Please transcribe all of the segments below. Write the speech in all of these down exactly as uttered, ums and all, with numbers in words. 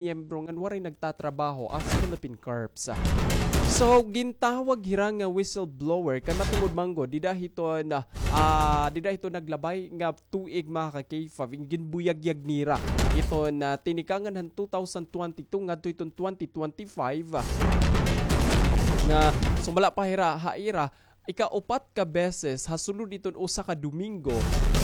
miyembro ngan waray nagtatrabaho as Philippine corps. So, gintawag hira nga whistleblower kay matungod man gud dida hiton, ah, dida hiton naglabay nga tuig, mga ka-K five, in ginbuyagyag nira iton, ah, tinikangan han two thousand twenty-two ngadto hiton twenty twenty-five, ah, nga sumala pa hira ha ira ikaupat ka beses ha sulod hiton usa ka Domingo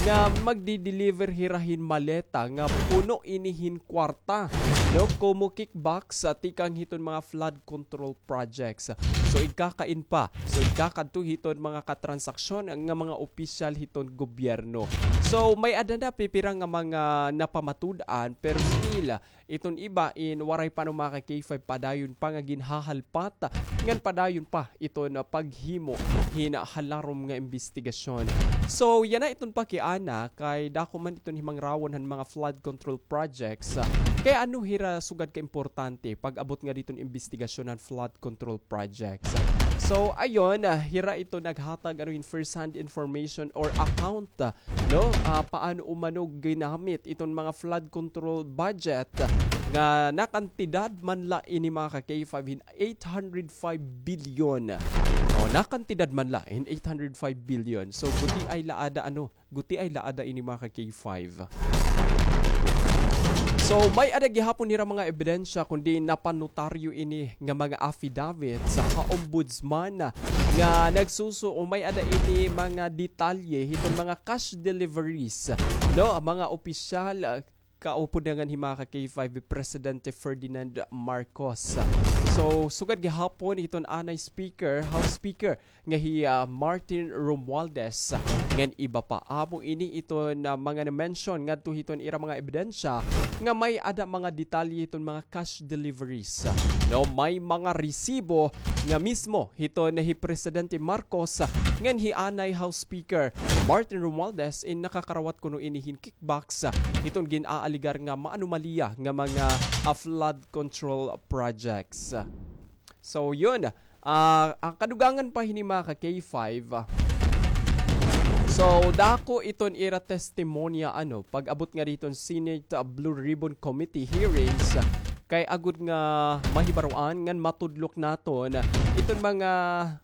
nga magdi-deliver hira hin maleta nga puno ini hin kwarta, no, komo kickbacks, ah, tikang hiton mga flood control projects. So, igkakain pa. So, igkakadto hiton mga katransaksyon nga mga opisyal hiton gobyerno. So, may-ada na pipira nga mga napamatud-an, pero still, iton iba in waray pa, no, mga ka-K five, padayon pa nga ginhahalpat ngan padayon pa iton, ah, paghimo hin halarom nga imbestigasyon. So, yana iton pakiana kay dako man iton himangrawon han mga flood control projects. Kay ano hira sugad ka importante pag-abot ngadi hiton imbestigasyon han flood control projects? So, ayon, ah, hira ito naghatag, ano, hin first hand information or account, ah, no? Ah, paano umano ginamit iton mga flood control budget nga nakantidad man la ini, mga ka-K five, hin eight hundred five billion. O, nakantidad man la hin eight hundred five billion. So, gutiay la ada, ano, gutiay la ada ini, mga ka-K five. So, may-ada gihapon hira mga ebidensya, kundi napanotaryo ini nga mga affidavit sa ka-ombudsman nga nagsuso o may-ada ini mga detalye hiton mga cash deliveries, no, mga opisyal, ah, kaupudangan hi, mga ka-K five, Presidente Ferdinand Marcos. So, sugad gihapon hiton anay speaker, House Speaker, nga hi, ah, Martin Romualdez, ngan iba pa. Amo ini iton mga na-mention ngadto hiton ira mga ebidensya nga may-ada mga detalye hiton mga cash deliveries. No, may mga resibo nga mismo hiton hi Presidente Marcos ngan hi anay House Speaker Martin Romualdez in nakakarawat kuno ini hin kickbacks hiton gin-aaligar nga maanomalya nga mga, ah, flood control projects. So, yun. Ah, an kadugangan pa hini, mga ka-K five, ah, so, dako iton ira testimonya, ano, pag-abot ngadi hiton Senate, ah, Blue Ribbon Committee hearings, ah, kay agod nga mahibaroan ngan matudlok naton iton mga,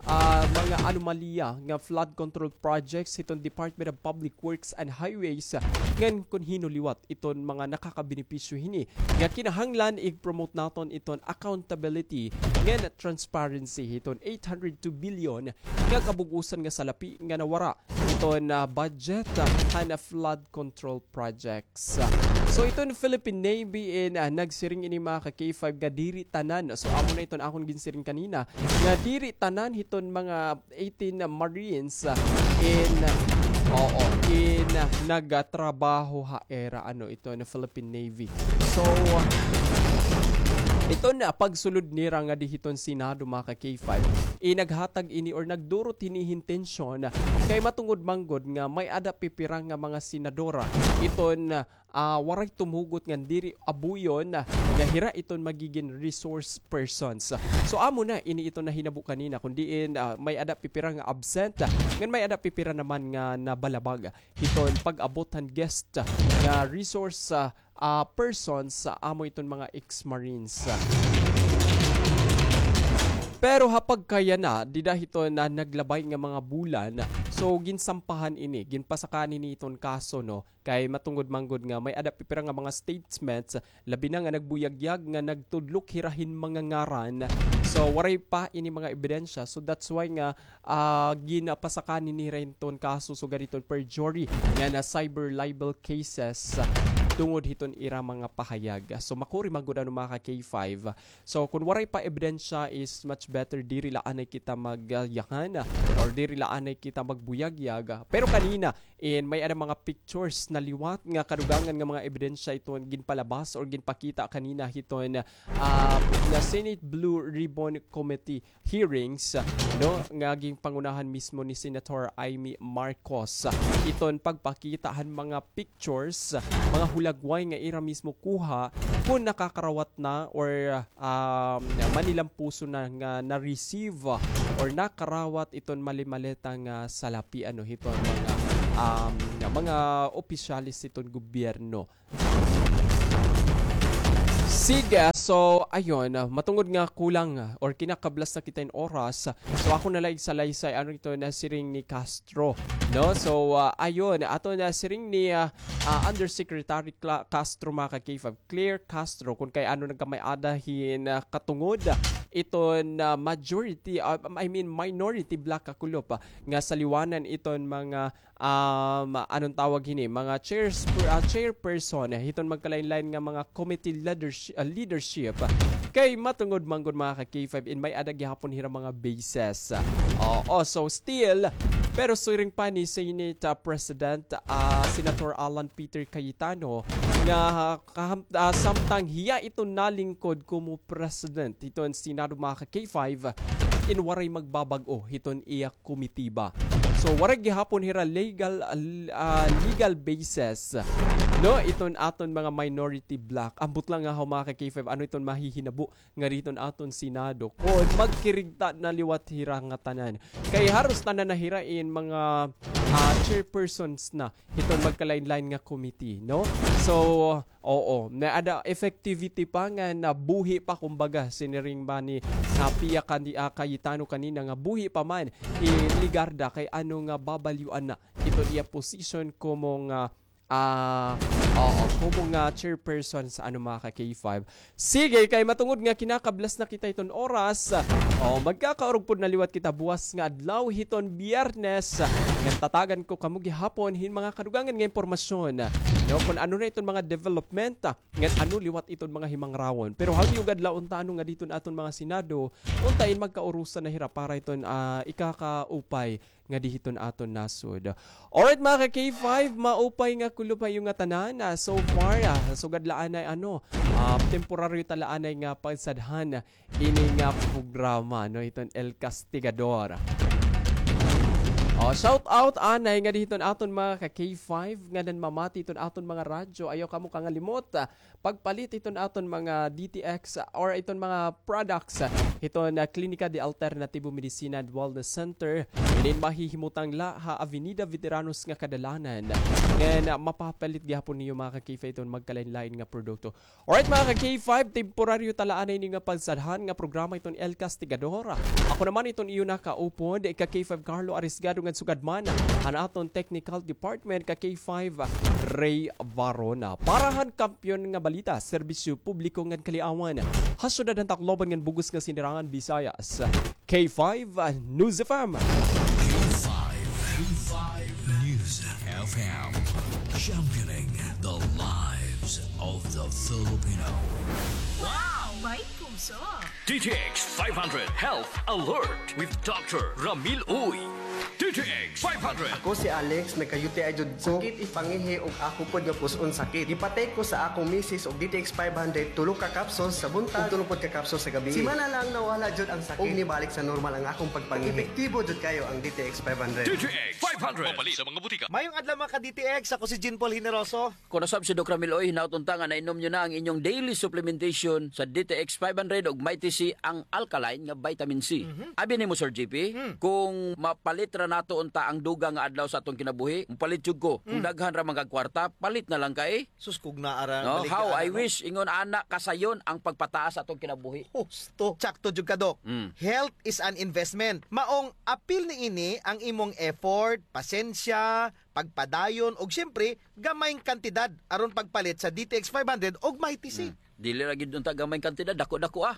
ah, mga anomalya nga flood control projects hiton Department of Public Works and Highways, ah, ngan kon hin-o liwat iton mga nakakabenepisyo hini nga kinahanglan ig-promote naton iton accountability ngan transparency hiton eight hundred two billion nga kabug-osan nga salapi nga nawara iton, ah, budget, ah, han flood control projects. So, iton Philippine Navy in, ah, nagsiring ini, mga ka-K five, nga diri tanan. So, amo na iton akon ginsiring kanina nga diri tanan hiton mga eighteen Marines, ah, in, oo, in, ah, nagtrabaho ha ira, ano, iton Philippine Navy. So, iton pagsulod nira ngadi hiton Senado, mga ka-K five, inaghatag ini or nagdurot hini hin tensyon kay matungod man gud nga may-ada pipira nga mga senador iton, ah, waray tumugot ngan diri abuyon nga hira iton magigin resource persons. So, amo na ini iton nahinabo kanina, kun diin, ah, may-ada pipira nga absent, ngan may-ada pipira naman nga nabalabag hiton pag-abot han guest nga resource, ah, ah, persons, ah, amo iton mga ex-marines. Pero ha pagkayana, dida hiton naglabay nga mga bulan, so ginsampahan ini, ginpasakaan ini iton kaso, no? Kay matungod man gud nga may-ada pipira nga mga statements, labi na nga nagbuyagyag nga nagtudlok hira hin mga ngaran. So, waray pa ini mga ebidensya. So, that's why nga, ah, ginapasakaan nira hiton kaso sugad hiton perjury ngan cyber libel cases, ah, tungod hiton ira mga pahayag. So, makuri man gud, ano, mga ka-K five. So, kun waray pa ebidensya is much better diri la anay kita magyakan or diri la anay kita magbuyagyag. Pero kanina, in may-ada mga pictures na liwat nga kadugangan nga mga ebidensya iton ginpalabas or ginpakita kanina hiton, ah, nga Senate Blue Ribbon Committee hearings, no, nga ginpangunahan mismo ni Senator Imee Marcos. Iton pagpakita han mga pictures, mga hulagway nga ira mismo kuha kun nakakarawat na or, um, manilampuson na nga na-receive or nakarawat iton malimaleta nga salapi, ano, hiton mga, um, mga opisyales hiton gobyerno. Sige, so, ayun, ah, matungod nga kulang, ah, or kinakablas na kita hin oras, ah, so, ako na la igsalaysay, ano ito na siring ni Castro, no? So, ah, ayun, ato na siring ni, ah, ah, Undersecretary Cla-, Castro, mga ka-K five, Claire Castro, kun kay ano nagkamay-ada hin, ah, katungod, ah, iton, ah, majority, ah, I mean, minority bloc, kakulop, ah, nga saliwanan iton mga um, anong tawag hini, mga chairs-, ah, chairperson, eh, hiton magkalain-lain nga mga committee leadershi-, ah, leadership. Kay matungod man gud, mga ka-K five, in may-ada gihapon hira mga bases. Oo, so still, pero siring pa ni Senate, ah, President, ah, Senator Alan Peter Cayetano nga kaham-, ah, samtang hiya ito nalingkod komo president hiton Senado, mga ka-K five, in waray magbabag-o hiton iya komitiba. So, waray gihapon hira legal, ah, legal basis, no, iton aton mga minority bloc. Ambot lang nga, mga ka-K five, ano iton mahihinabo ngadi hiton aton Senado kon magkirigta na liwat hira ngatanan. Kay haros tanan na hira in mga, ah, chairpersons na hiton magkalain-lain nga committee, no? So, oo, may-ada effectivity pa nga nabuhi pa, kumbaga, siniring ba ni, ah, Pia Candi-, ah, Cayetano kanina nga buhi pa man hi Legarda kay ano nga babalyuan na iton iya position komo nga, ah, oo, komo nga chairperson sa ano, mga ka-K five. Sige, kay matungod nga kinakablas na kita hiton oras, o, magkakaurog pod na liwat kita buwas nga adlaw hiton Biyernes. Ngan tatagan ko kamo gihapon hin mga kadugangan nga impormasyon. No, kun ano na iton mga development, ngan ano liwat iton mga himangrawon. Pero hangyo gad la unta ano ngadi hiton aton mga Senado, unta in magkaurusan na hira para iton, ah, ikakaupay ngadi hiton aton nasod. Alright, mga ka-K five, maupay nga kulop ha iyo ngatanan. Ah, so far, ah, sugad la anay, ano, ah, temporaryo ta la anay nga pagsadhan ini nga programa, no, hiton El Castigador. O, shout out anay ngadi hiton aton mga ka-K five nga nanmamati hiton aton mga radyo. Ayaw kamo kangalimot, ah, pagpalit hiton aton mga D T X, ah, or iton mga products, ah, hiton, ah, Klinika de Alternativo Medicina and Wellness Center. Inin mahihimutang la ha Avenida Veteranos nga kadalanan. Ngan, ah, mapapalit gihapon niyo, mga ka-K five, iton magkalain-lain nga produkto. Alright, mga ka-K five, temporaryo ta la anay ini nga pagsadhan nga programa hiton El Castigador. Ako naman iton iyo nakaupod, ka-K five Carlo Arisgado, ngan sugad man han aton technical department, ka-K five Ray Varona. Para han kampyon nga balita, serbisyo publiko ngan kaliawan, ha syudad han Tacloban ngan bug-os nga Sinirangan Visayas, K five News F M. K five, K five News F M, championing the lives of the Filipino. Wow! May puso! D T X five hundred Health Alert with Doctor Ramil Uy. D T X five hundred. Ako si Alex, nagka-U T I jud ko. Sakit it pangihi ug ako pod nga pus-on sakit. Gipatake ko sa akong misis og D T X five hundred, tulo ka capsules sa buntag ug tulo pod ka capsules sa gabii. Simana lang nawala jud ang sakit ug nibalik sa normal ang akong pagpangihi. Epektibo jud kayo ang D T X five hundred. D T X five hundred. Mapalit sa mga butika. Mayong adlaw, mga ka-D T X. Ako si Jean Paul Generoso. Kon nasab si Doc Ramil Uy, hinaot unta nga nainom niyo na ang inyong daily supplementation sa D T X five hundred ug Mighty C, ang alkaline nga vitamin C. Mhm. Abi nimo, Sir J P, hmm, kung mapalit ra nato unta ang dugang nga adlaw sa atong kinabuhi, mopalit jud ko. Kung, hmm, daghan ra man kag kwarta, palit na lang kay. Sus, kung naa ra, no? Balik ka, ano? How I wish, ingon ana, kasayon ang pagpataas sa atong kinabuhi. Husto. Tsakto jud ka, Doc. Mm. Health is an investment. Maong apil niini ang imong effort, pasensya, pagpadayon, ug siyempre, gamayng kantidad aron pagpalit sa D T X five hundred ug Mighty C. Hmm. Dili ra gyud unta gamayng kantidad, dako-dako, ah.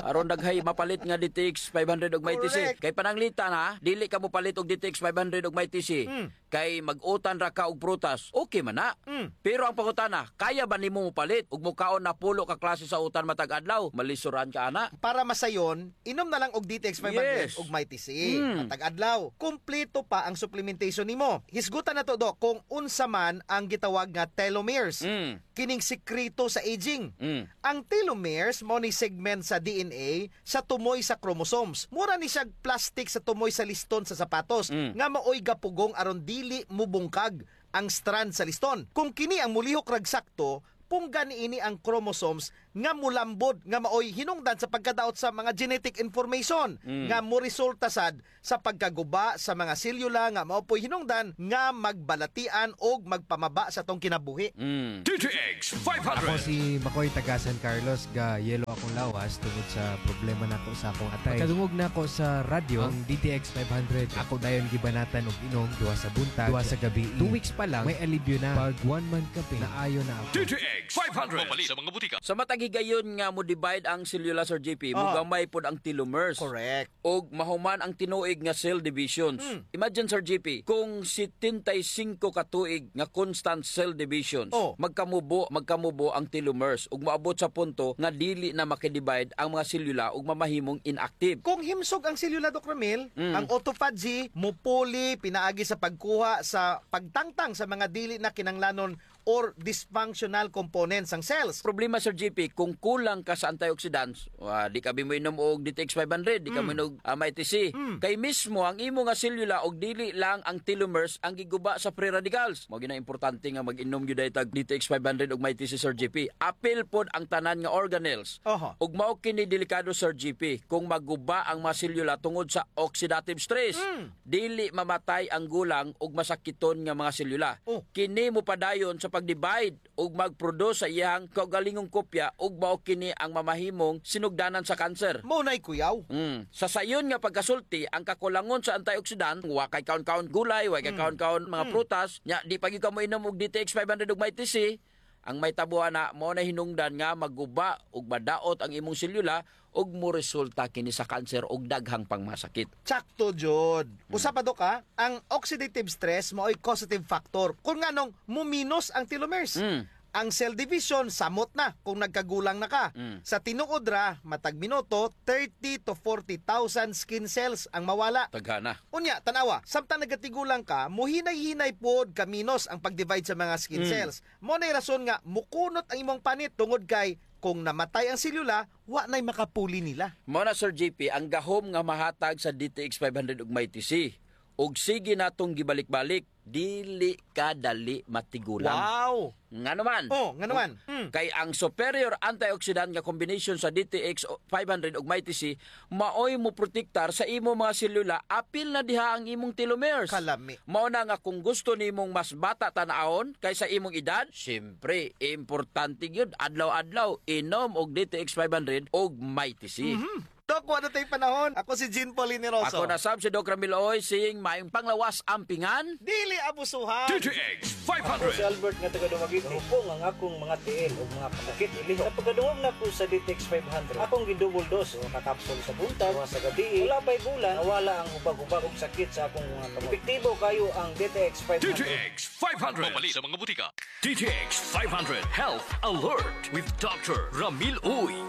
Aron daghay mapalit nga D T X five hundred ug Mighty C. Correct. Kay pananglitan, ha, dili ka mopalit og D T X five hundred ug Mighty C. Hmm. Kay mag-utan ra ka og prutas, okay man na. Hmm. Pero ang pangutana, kaya ba nimo mopalit ug mokaon na pulo ka klase sa utan matag adlaw? Malisuran ka ana. Para masayon, inom na lang og D T X five hundred, yes, ug Mighty C. Mm. Matag adlaw. Kumpleto pa ang supplementation nimo. Hisgutan nato, Doc, kung unsa man ang gitawag nga telomeres. Mm. Kining sikreto sa aging. Mm. Ang telomeres mao ni segment sa D N A sa tumoy sa chromosomes. Mura ni siyag plastic sa tumoy sa liston sa sapatos, mm, nga maoy gapugong aron dili mubungkag ang strand sa liston. Kung kini ang mulihok rag sakto, punggan niini ang chromosomes nga molambod nga maoy hinungdan sa pagkadaot sa mga genetic information Mm. nga moresulta sad sa pagkaguba sa mga selyula nga mao po'y hinungdan nga magbalatian og magpamaba sa atong kinabuhi. Mm. D T X five hundred. Ako si Makoy, taga San Carlos, ga yellow akong lawas tungod sa problema nako sa akong atay. Pagkadungog nako sa radyo, ang D T X five hundred, ako dayon gibanatan og inom duha sa buntag, duha sa gabi. Two weeks pa lang, may alibyo na. Pag one month kapin, naayo na ako. D T X five hundred. Mapalit sa mga butika. Sa matag higayon nga mo-divide ang selyula, Sir J P, Ah. mogamay pod ang telomeres. Correct. Og mahuman ang tinuig nga cell divisions. Mm. Imagine, Sir J P, kung setenta y cinco ka tuig nga constant cell divisions, Oh. magkamubo, magkamubo ang telomeres ug maabot sa punto nga dili na makidivide ang mga selyula ug mamahimong inactive. Kung himsog ang selyula, Doc Ramil, Mm. ang autophagy mupuli pinaagi sa pagkuha sa pagtangtang sa mga dili na kinanglanon or dysfunctional components sang cells. Problema, Sir J P, kung kulang ka sa antioxidants, wa, di ka bi moinom og D T X five hundred, di ka Mm. moinom og, ah, Mighty C. Mm. Kay mismo ang imo nga selula og dili lang ang telomeres ang giguba sa free radicals. Mao gyud na importante nga mag-inom gyud tag D T X five hundred ug Mighty C, Sir J P. Apil pod ang tanan nga organelles. Oho. Ug mao kini delikado, Sir J P, kung maguba ang mga selula tungod sa oxidative stress. Mm. Dili mamatay ang gulang ug masakiton nga mga selula. Oh. Kini mopadayon sa pag-divide ug mag-produce sa iyang kaugalingong kopya ug mao kini ang mamahimong sinugdanan sa kanser. Mao nay kuyaw. Mm. Sa sayon nga pagkasulti, ang kakulangon sa antioxidant, wa kay kaon-kaon gulay, wa kay Mm. kaon-kaon mga Mm. prutas, nya di pa gyud ka moinom og D T X five hundred ug Mighty C, ang mahitabo ana, mao na hinungdan nga maguba ug madaot ang imong selula ug moresulta kini sa kanser ug daghang pang mga sakit. Sakto jud. Mm. Usa pa, Dok, ha, ang oxidative stress maoy causative factor kung nganong muminos ang telomeres. Mm. Ang cell division, samot na kung nagkagulang na ka. Mm. Sa tinuod ra, matag minuto, thirty to forty thousand skin cells ang mawala. Daghana. Unya, tan-awa, samtang nagatigulang ka, muhinay-hinay pod kaminos ang pag-divide sa mga skin Mm. cells. Mao nay rason nga mukunot ang imong panit tungod kay kung namatay ang selula, wa nay makapuli nila. Mao na, Sir J P, ang gahom nga mahatag sa D T X five hundred ug Mighty C. Ug sige natong gibalik-balik, dili ka dali matigulang. Wow! Ngano man? Oh, ngano man? Mm. Kay ang superior antioxidant nga combination sa D T X five hundred ug Mighty C maoy moprotektar sa imo mga selula, apil na diha ang imong telomeres. Kalami. Mao na nga kung gusto nimong mas bata tan-awon kaysa imong edad, siyempre, importante gyud adlaw-adlaw inom og D T X five hundred og Mighty C. Mhm. Dok, wala tay panahon. Ako si Jean Paul Generoso. Ako na sab si Doc Ramil Oy, sing maayong panglawas ampingan. Dili abusuhan. D T X five hundred. Ako si Albert nga taga Dumaguete. Hupong ang akong mga tiil ug mga kasakit ilihok. Sa pagkadungog nako sa D T X five hundred, akong gi-double dose, usa ka kapsul sa buntag, usa sa gabii. Wala pa'y bulan, nawala ang hubag-hubag ug sakit sa akong mga kamot. Epektibo kaayo ang D T X five hundred. D T X five hundred. Mapalit sa mga butika. D T X five hundred Health Alert with Doctor Ramil Uy.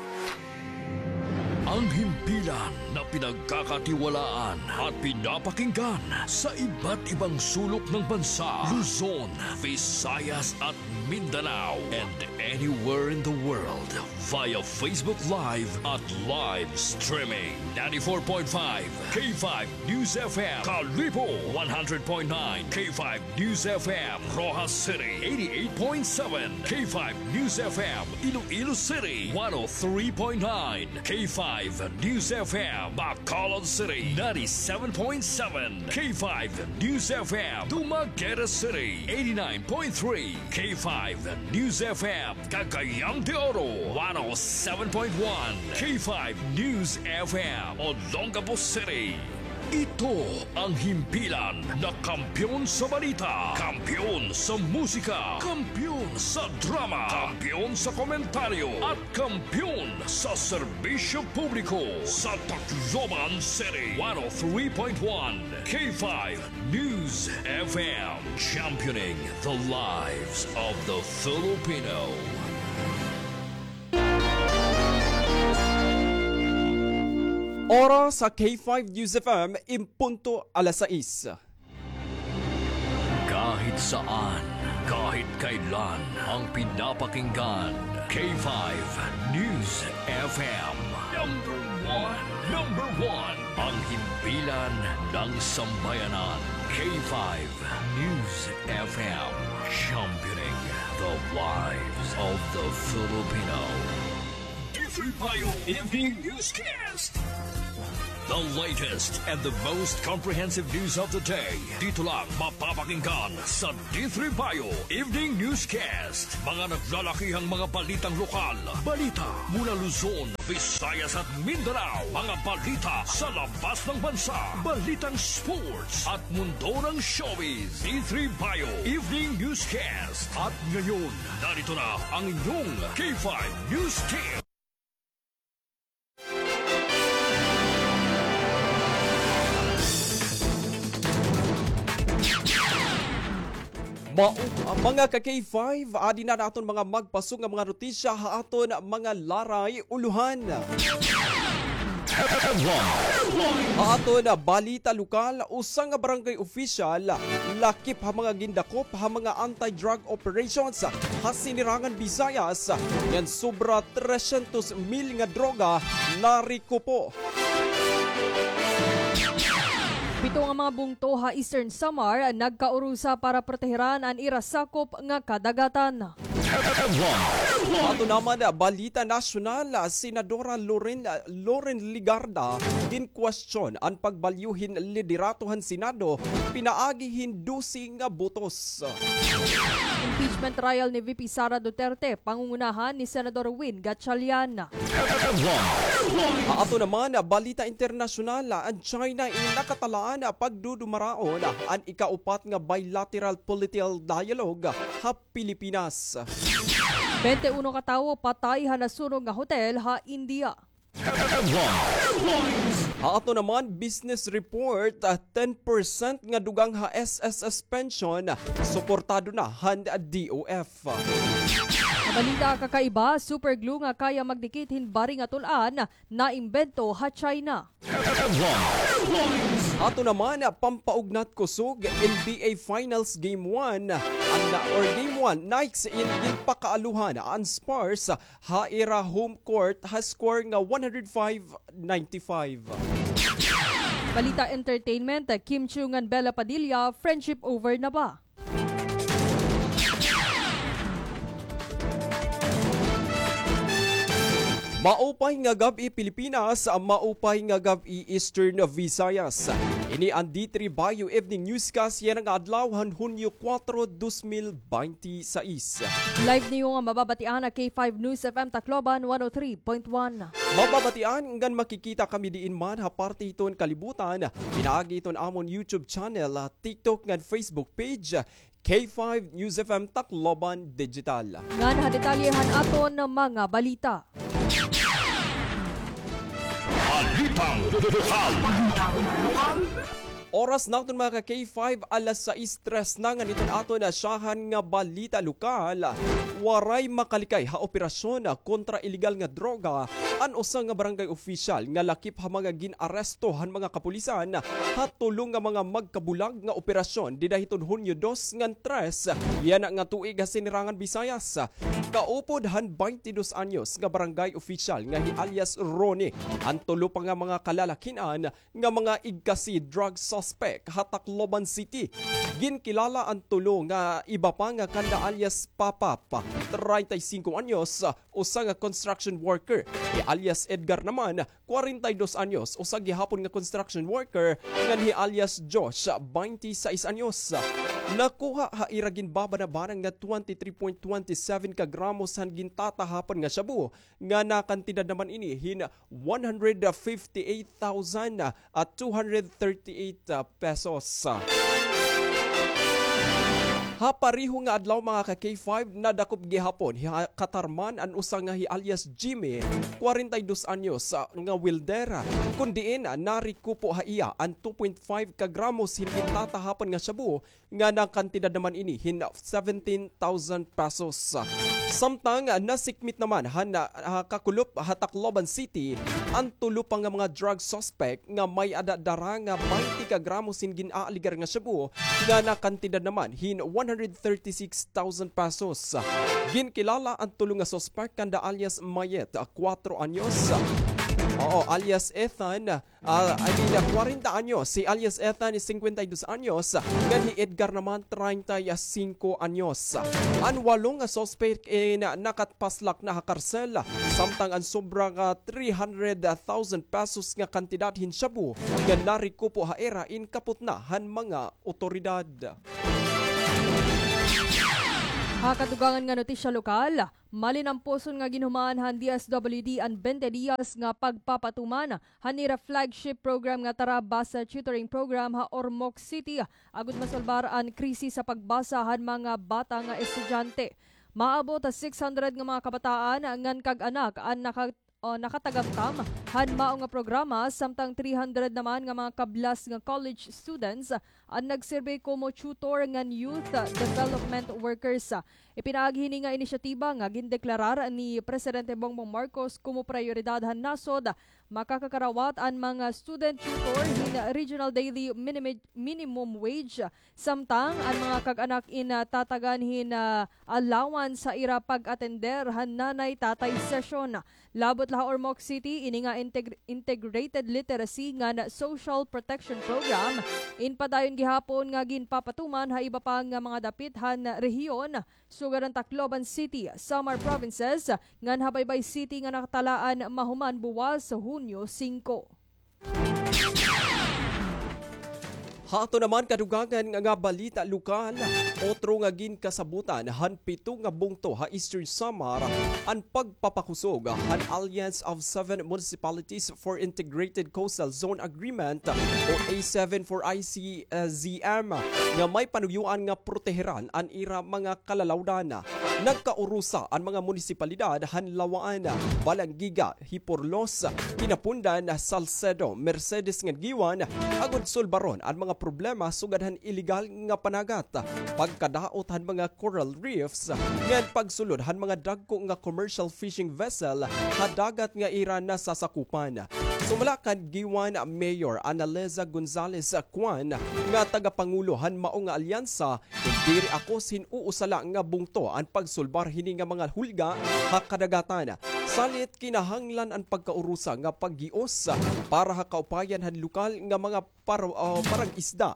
Ang himpilan na pinagkakatiwalaan at pinapakinggan sa iba't ibang sulok ng bansa, Luzon, Visayas at Mindanao, and anywhere in the world via Facebook Live at live streaming. Ninety-four point five K five News F M, Kalibo, one hundred point nine K five News F M, Roxas City, eighty-eight point seven K five News F M, Iloilo City, one oh three point nine K five News F M, Bacolod City, ninety-seven point seven K five News F M, Dumaguete City, eighty-nine point three K five News F M, Cagayan de Oro, one oh seven point one K five News F M, Olongapo City. Ito ang himpilan na kampiyon sa balita, kampiyon sa musika, kampiyon sa drama, kampiyon sa komentaryo, at kampiyon sa serbisyo publiko sa Tacloban City. One oh three point one K five News F M, championing the lives of the Filipino. Oras sa K five News F M, in punto alas sais. Kahit saan, kahit kailan, ang pinapakinggan, K five News F M. Number one, number one, ang himpilan ng sambayanan, K five News F M, championing the lives of the Filipino. Bayo Evening Newscast. The latest and the most comprehensive news of the day. Dito lang mapapakinggan sa D three Bayo Evening Newscast. Mga naglalakihang mga balitang lokal. Balita mula Luzon, Visayas at Mindanao. Mga balita sa labas ng bansa. Balitang sports at mundo ng showbiz. D three Bayo Evening Newscast. At ngayon, narito na ang inyong K five News Team. Mao, mga ka-K five, adi na an aton mga magpasog nga mga notisya ha aton mga laray ulohan. Ha aton balita lokal, usa nga barangay opisyal lakip ha mga gindakop ha mga anti-drug operations ha Sinirangan Visayas, ngan sobra tresyentos mil nga droga narekupo. Pito nga mga bungto ha Eastern Samar nagkaurusa para proteheran an ira sakop nga kadagatan. Ato naman, balita nasyonal, Senadora Loren, Loren Legarda, ginkwestiyon an pagbalyo hin liderato han Senado pinaagi hin dose nga botos. Impeachment trial ni V P Sara Duterte, pangungunahan ni Senador Win Gatchalian. Ha ato naman, balita internasyonal, an China in nakatalaan pagdudumaraon an ikaupat nga bilateral political dialogue ha Pilipinas. Bente uno ka tawo patay ha nasunog nga hotel ha India. Ha ato naman, business report, ah, ten percent nga dugang ha S S S pension, suportado na han D O F. Sa balita kakaiba, super glue nga kaya magdikit hin bari nga tul-an, naimbento ha China. Ato naman, pampaugnat kusog, N B A Finals Game one, an, or Game one, Knicks in ginpakaaluhan an Spurs ha ira home court ha score nga one hundred five ninety-five. Balita entertainment, Kim Chiu ngan Bella Padilla, friendship over na ba? Maupay nga gab-i, Pilipinas. Maupay nga gab-i, Eastern Visayas. Ini an D three Bayo Evening Newscast yana nga adlaw han Hunyo kuwatro, dos mil baynte sais. Live niyo nga mababatian ha K five News F M Tacloban one oh three point one. Mababatian ngan makikita kami diin man ha parte hiton kalibutan, pinaagi hiton amon YouTube channel, TikTok ngan Facebook page, K five News F M Tacloban Digital. Ngan ha detalye han aton mga balita. Balitang lokal. Oras naton, mga ka-K five, alas sais tres na. Ngan iton aton nasyahan nga balita lokal. Waray makalikay ha operasyon kontra iligal nga droga an usa nga barangay opisyal nga lakip ha mga gin-aresto han mga kapulisan ha tulo nga mga magkabulag nga operasyon dida hiton Hunyo dos ngan tres yana nga tuig ha Sinirangan Visayas. Kaupod han baynte dos anyos nga barangay opisyal nga hi alias Ronnie, an tulo pa nga mga kalalakin-an nga mga igkasi drug suspect ha Tacloban City. Ginkilala an tulo nga iba pa nga kanda alias Papap, treinta y cinco anyos, usa nga construction worker. Hi alias Edgar naman, kwarenta y dos anyos, usa gihapon nga construction worker, ngan hi alias Josh, baynte sais anyos. Nakuha ha ira ginbabanabanang nga twenty-three point twenty seven ka gramos han gintatahapon nga shabu, nga nakantidad naman ini hin one hundred fifty-eight thousand two hundred thirty-eight pesos. Ha pareho nga adlaw, mga ka-K five, nadakop gihapon ha Catarman an usa nga hi alias Jimmy, kwarenta y dos anyos, ah, nga welder, kun diin, ah, narekupo ha iya an two point five ka gramos hin gintatahapon nga shabu, nga nakantidad naman ini hin seventeen thousand pesos. Samtang nasikmit naman han, ah, kakulop ha Tacloban City an tulo pa nga mga drug suspect nga may-ada dara nga baynte ka gramos hin gin-aaligar nga shabu nga nakantidad naman hin one hundred thirty-six thousand pesos. Ginkilala an tulo nga suspek kanda alias Mayet, ah, kuwatro anyos. Oo, alias Ethan, ah, I mean, ah, kwarenta anyos. Si alias Ethan is singkwenta y dos anyos, ngan hi Edgar naman, treinta y cinco anyos. An walo nga suspek in, ah, nakatpaslak na ha karsel, samtang an sobra nga three hundred thousand pesos nga kantidad hin shabu nga narekupo ha ira in kapot na han mga otoridad. Ha kadugangan nga notisya lokal, malinamposon nga ginhuman han D S W D an twenty Dias nga pagpapatuman han ira flagship program nga Tara Basa Tutoring Program ha Ormoc City, agod masulbar an krisis sa pagbasa han mga bata nga estudyante. Maabot ha six hundred nga mga kabataan ngan kag-anak an naka- o nakatagamtam han mao nga programa, samtang three hundred naman nga mga kablas nga college students an nagsirbi komo tutor ngan youth development workers. Ipinaagi hini nga inisyatiba nga gindeklarar ni Presidente Bongbong Marcos komo prayoridad han nasod. Makakakarawat an mga student tutor hin regional daily minimi- minimum wage, samtang an mga kag-anak in, ah, tatagan hin, ah, allowance sa ira pag-atender han nanay-tatay session. Labot la ha Ormoc City, ini nga integ- integrated literacy ngan social protection program in padayon gihapon nga ginpapatuman ha iba pa nga mga dapit han rehiyon, sugad han Tacloban City, Samar Provinces, ngan ha Baybay City nga nakatalaan mahuman buwas Hunyo singko. Ha aton naman kadugangan nga balita lokal, otro nga ginkasabutan han pito nga bungto ha Eastern Samar an pagpapakusog han Alliance of Seven Municipalities for Integrated Coastal Zone Agreement o A seven for I C Z M nga may panuyuan nga proteheran an ira mga kalalawdan. Nagkaurusa an mga munisipalidad han Laua-an, Balangiga, Giporlos, Quinapondan, Salcedo, Mercedes ngan Guiuan, agod sulbaron an mga problema sugad han iligal nga panagat, pagkadaot han mga coral reefs, ngan pagsulod han mga dagko nga commercial fishing vessel ha dagat nga ira nasasakupan. Sumala kan Guiuan Mayor Annalisa Gonzalez Cuan nga tagapangulo han mao nga alyansa, kon diri akos hin usa la nga bungto an pagsulbar hini nga mga hulga ha kadagatan. Salit kinahanglan an pagkaurusa nga paggios para ha kaupayan han lokal nga mga par-, ah, parag-isda.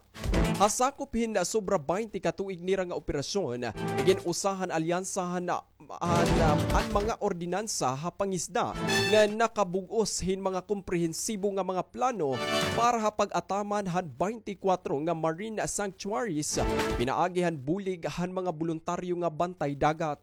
Ha sakop hin sobra baynte ka tuig nira nga operasyon, gin-usa han alyansa han an, an mga ordinansa ha pangisda nga nakabug-os hin mga komprehensibo nga mga plano para ha pag-ataman han baynte kwatro nga marine sanctuaries pinaagi han bulig han mga boluntaryo nga bantay dagat.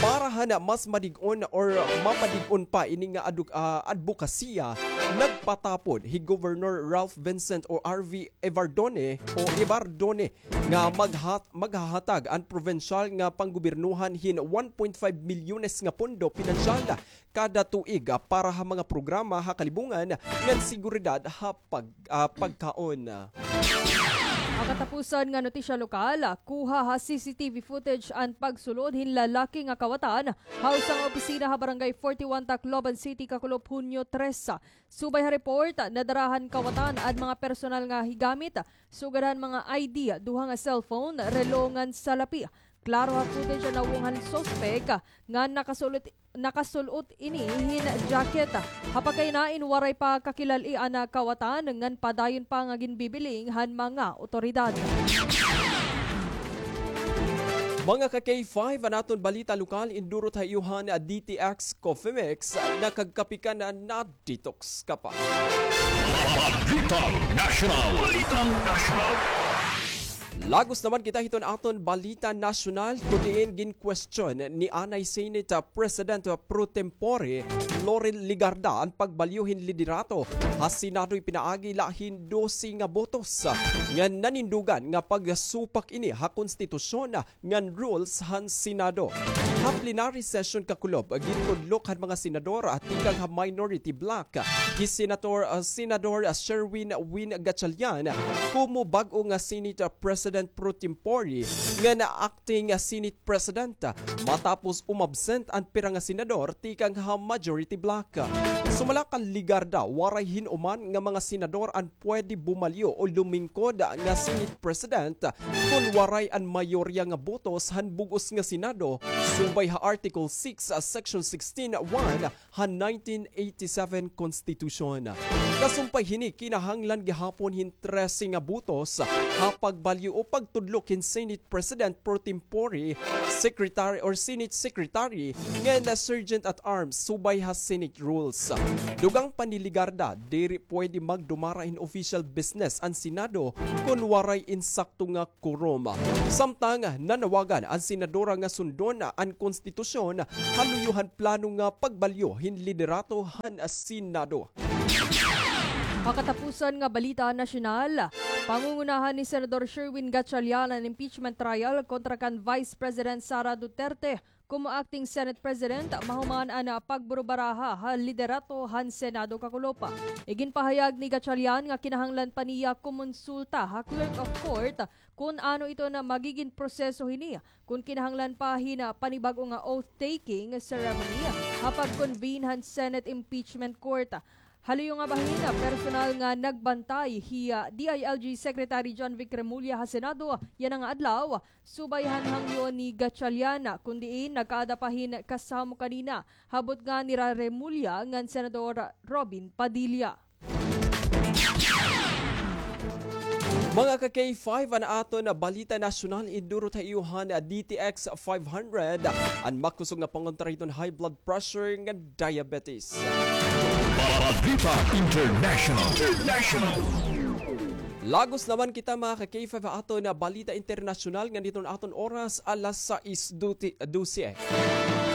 Para han mas madig-on or mapadig-on pa ini nga aduk-, ah, adbokasiya, nagpatapod hi Governor Ralph Vincent o R V Evardone o Evardone nga maghat-, maghahatag an probensyal nga panggobirnohan hin one point five milyones nga pondo pinansyal kada tuig, ah, para ha mga programa ha kalibungan ngan seguridad ha pag-, ah, pagkaon. Ha katapusan nga notisya lokal, kuha ha C C T V footage an pagsulod hin lalaki nga kawatan ha usa nga opisina ha Barangay forty-one, Tacloban City, kakulop Hunyo tres. Subay ha report, nadara han kawatan an mga personal nga higamit, sugad han mga I D, duha nga cellphone, relo ngan salapi. Klaro ha footage an nawong han suspek nga nakasul-ot, nakasul-ot ini hin jacket. Ha pagkahinain, waray pa kakilal-i an kawatan ngan padayon pa nga ginbibiling han mga otoridad. Mga ka K five, an aton balita lokal, indurot ha iyo han D T X Coffee Mix, nakagkape ka na, na-detox ka pa. Balitang Nasyonal. Balitang Nasyonal. Lagos naman kita hiton aton balita nasyonal, kun diin ginkwestiyon ni anay Senate President pro tempore Loren Legarda an pagbalyo hin liderato ha Senado ipinaagi la hin dose nga botos nga nanindugan nga pagsupak ini ha konstitusyon ngan rules han Senado. Ha plenary session kakulob, gintudlok han mga senador, ah, tikang ha minority bloc, hi Senator, ah, Senador, ah, Sherwin Win Gatchalian, komo bag-o nga Senate, ah, President President pro tempore ngan acting Senate President matapos umabsent an pira nga senador tikang ha majority bloc. Sumala kan Legarda, waray hin-o man nga mga senador an pwede bumalyo o lumingkod nga Senate President kon waray an mayorya nga botos han bug-os nga Senado subay ha Article six, Section sixteen one han nineteen eighty-seven Constitution. Kasumpay hini, kinahanglan gihapon hin trese nga botos ha pagbalyo o pagtudlok hin Senate President pro tempore, Secretary or Senate Secretary, ngan Sergeant at Arms subay ha Senate rules. Dugang pa ni Legarda, diri pwede magdumara hin official business an Senado kon waray insakto nga quorum. Samtang nanawagan an senadora nga sundon an konstitusyon ha luyo han plano nga pagbalyo hin liderato han Senado. Ha katapusan nga balita nasyonal, pangungunahan ni Senador Sherwin Gatchalian an impeachment trial kontra kan Vice President Sara Duterte komo acting Senate President mahuman an pagburubaraha ha liderato han Senado kakulop. Iginpahayag ni Gatchalian nga kinahanglan pa niya kumonsulta ha Clerk of Court kon ano iton magigin proseso hini, kon kinahanglan pa hin panibag-o nga oath-taking ceremony ha pag-convene han Senate Impeachment Court. Ha luyo nga bahin, personal nga nagbantay hi, ah, D I L G Secretary John Vic Remulla ha Senado yana nga adlaw, subay han hangyo ni Gatchalian, kun diin nagkaada pa hin kasamo kanina ha butnga nira Remulla ngan Senador Robin Padilla. Mga ka-K five, an aton balita nasyonal, idurot ha iyo han D T X five hundred, an makusog nga pangontra hiton high blood pressure ngan diabetes. Balita International. International. Lagos naman kita, mga ka-K five, ha aton balita internasyonal ngan hiton aton oras, alas sais dose.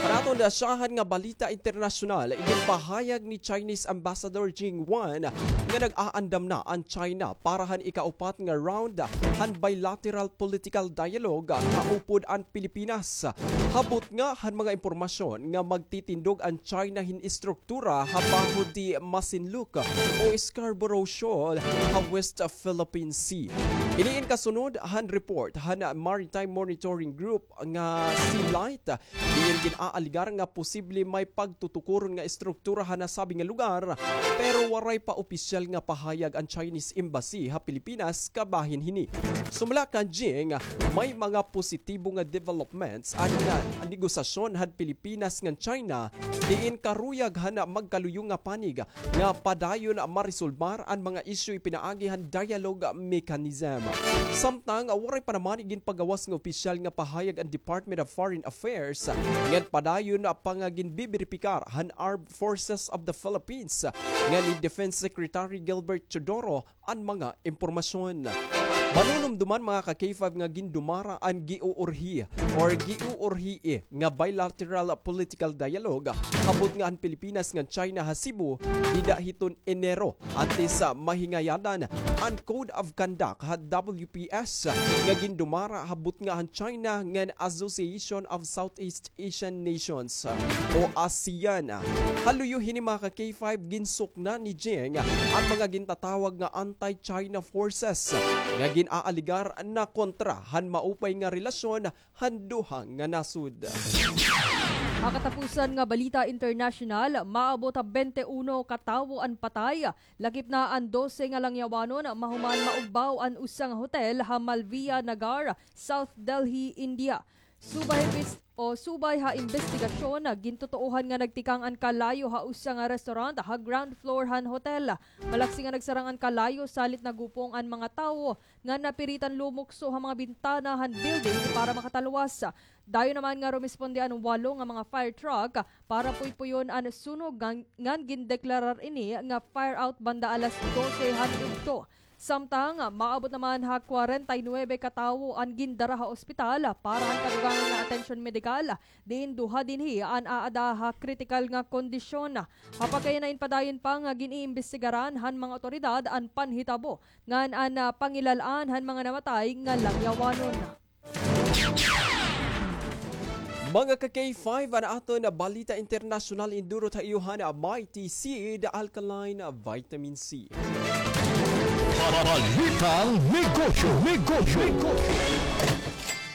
Para aton nasyahan nga balita internasyonal, iginpahayag ni Chinese Ambassador Jing Wan nga nag-aandam na an China para han ikaupat nga round han bilateral political dialogue kaupod an Pilipinas. Ha butnga han mga impormasyon nga magtitindog an China hin estruktura ha bahod ti Masinloc o Scarborough Shoal ha West Philippine Sea. Ini in kasunod han report han Maritime Monitoring Group nga Sea Light, diin gin-aaligar nga posible may pagtutukuron nga estruktura ha nasabi nga lugar, pero waray pa opisyal nga pahayag an Chinese Embassy ha Pilipinas kabahin hini. Sumala kan Jing, may mga positibo nga developments an, ah, negosasyon han Pilipinas ngan China, diin karuyag han magkaluyo nga panig nga padayon maresolbar an mga isyu ipinaagi han dialogue mechanism. Samtang waray pa naman iginpagawas nga opisyal nga pahayag an Department of Foreign Affairs ngan padayon pa nga ginbiberipikar han Armed Forces of the Philippines ngan ni Defense Secretary Gilbert Teodoro an mga impormasyon. Manunumduman, mga ka-K five, nga gindumara an giuurhi or giuurhii nga bilateral political dialogue ha butnga han Pilipinas ngan China ha Cebu dida hiton Enero, antes sa mahingayadan an Code of Conduct ha W P S nga gindumara ha butnga han China ngan Association of Southeast Asian Nations o ASEAN. Ha luyo hini, mga ka-K five, ginsukna ni Jing an mga gintatawag nga anti-China forces nga gin-aaligar na kontra han maupay nga relasyon han duha nga nasod. Ha katapusan nga balita internasyonal, maabot ha bente uno ka tawo an patay, lakip na an dose nga langyawanon mahuman maugbaw an usa nga hotel ha Malviya Nagar, South Delhi, India. Subay ha imbes-, o subay ha imbestigasyon, gintutuohan nga nagtikang an kalayo ha usa nga restaurant ha ground floor han hotel. Malaksi nga nagsarang an kalayo salit nagupong an mga tawo nga napiritan lumukso ha mga bintana han building para makatalwas. Dayon naman nga rumisponde an walo nga mga fire truck para puypuyon an sunog ngan, ngan gindeklarar ini nga fire out banda alas dose han udto. Samtang maabot naman ha kwarenta y nuebe ka tawo an gindara ha ospital para han kadugangan nga atensyon medikal, diin duha dinhi an aada ha kritikal nga kondisyon. Ha pagkayana, in padayon pa nga gin-iimbestigaran han mga awtoridad an panhitabo ngan an, ah, pangilal-an han mga namatay nga langyawanon. Mga ka-K five, an aton balita internasyonal indurot ha iyo han Mighty Seed Alkaline Vitamin C. Balitang Negosyo, Negosyo.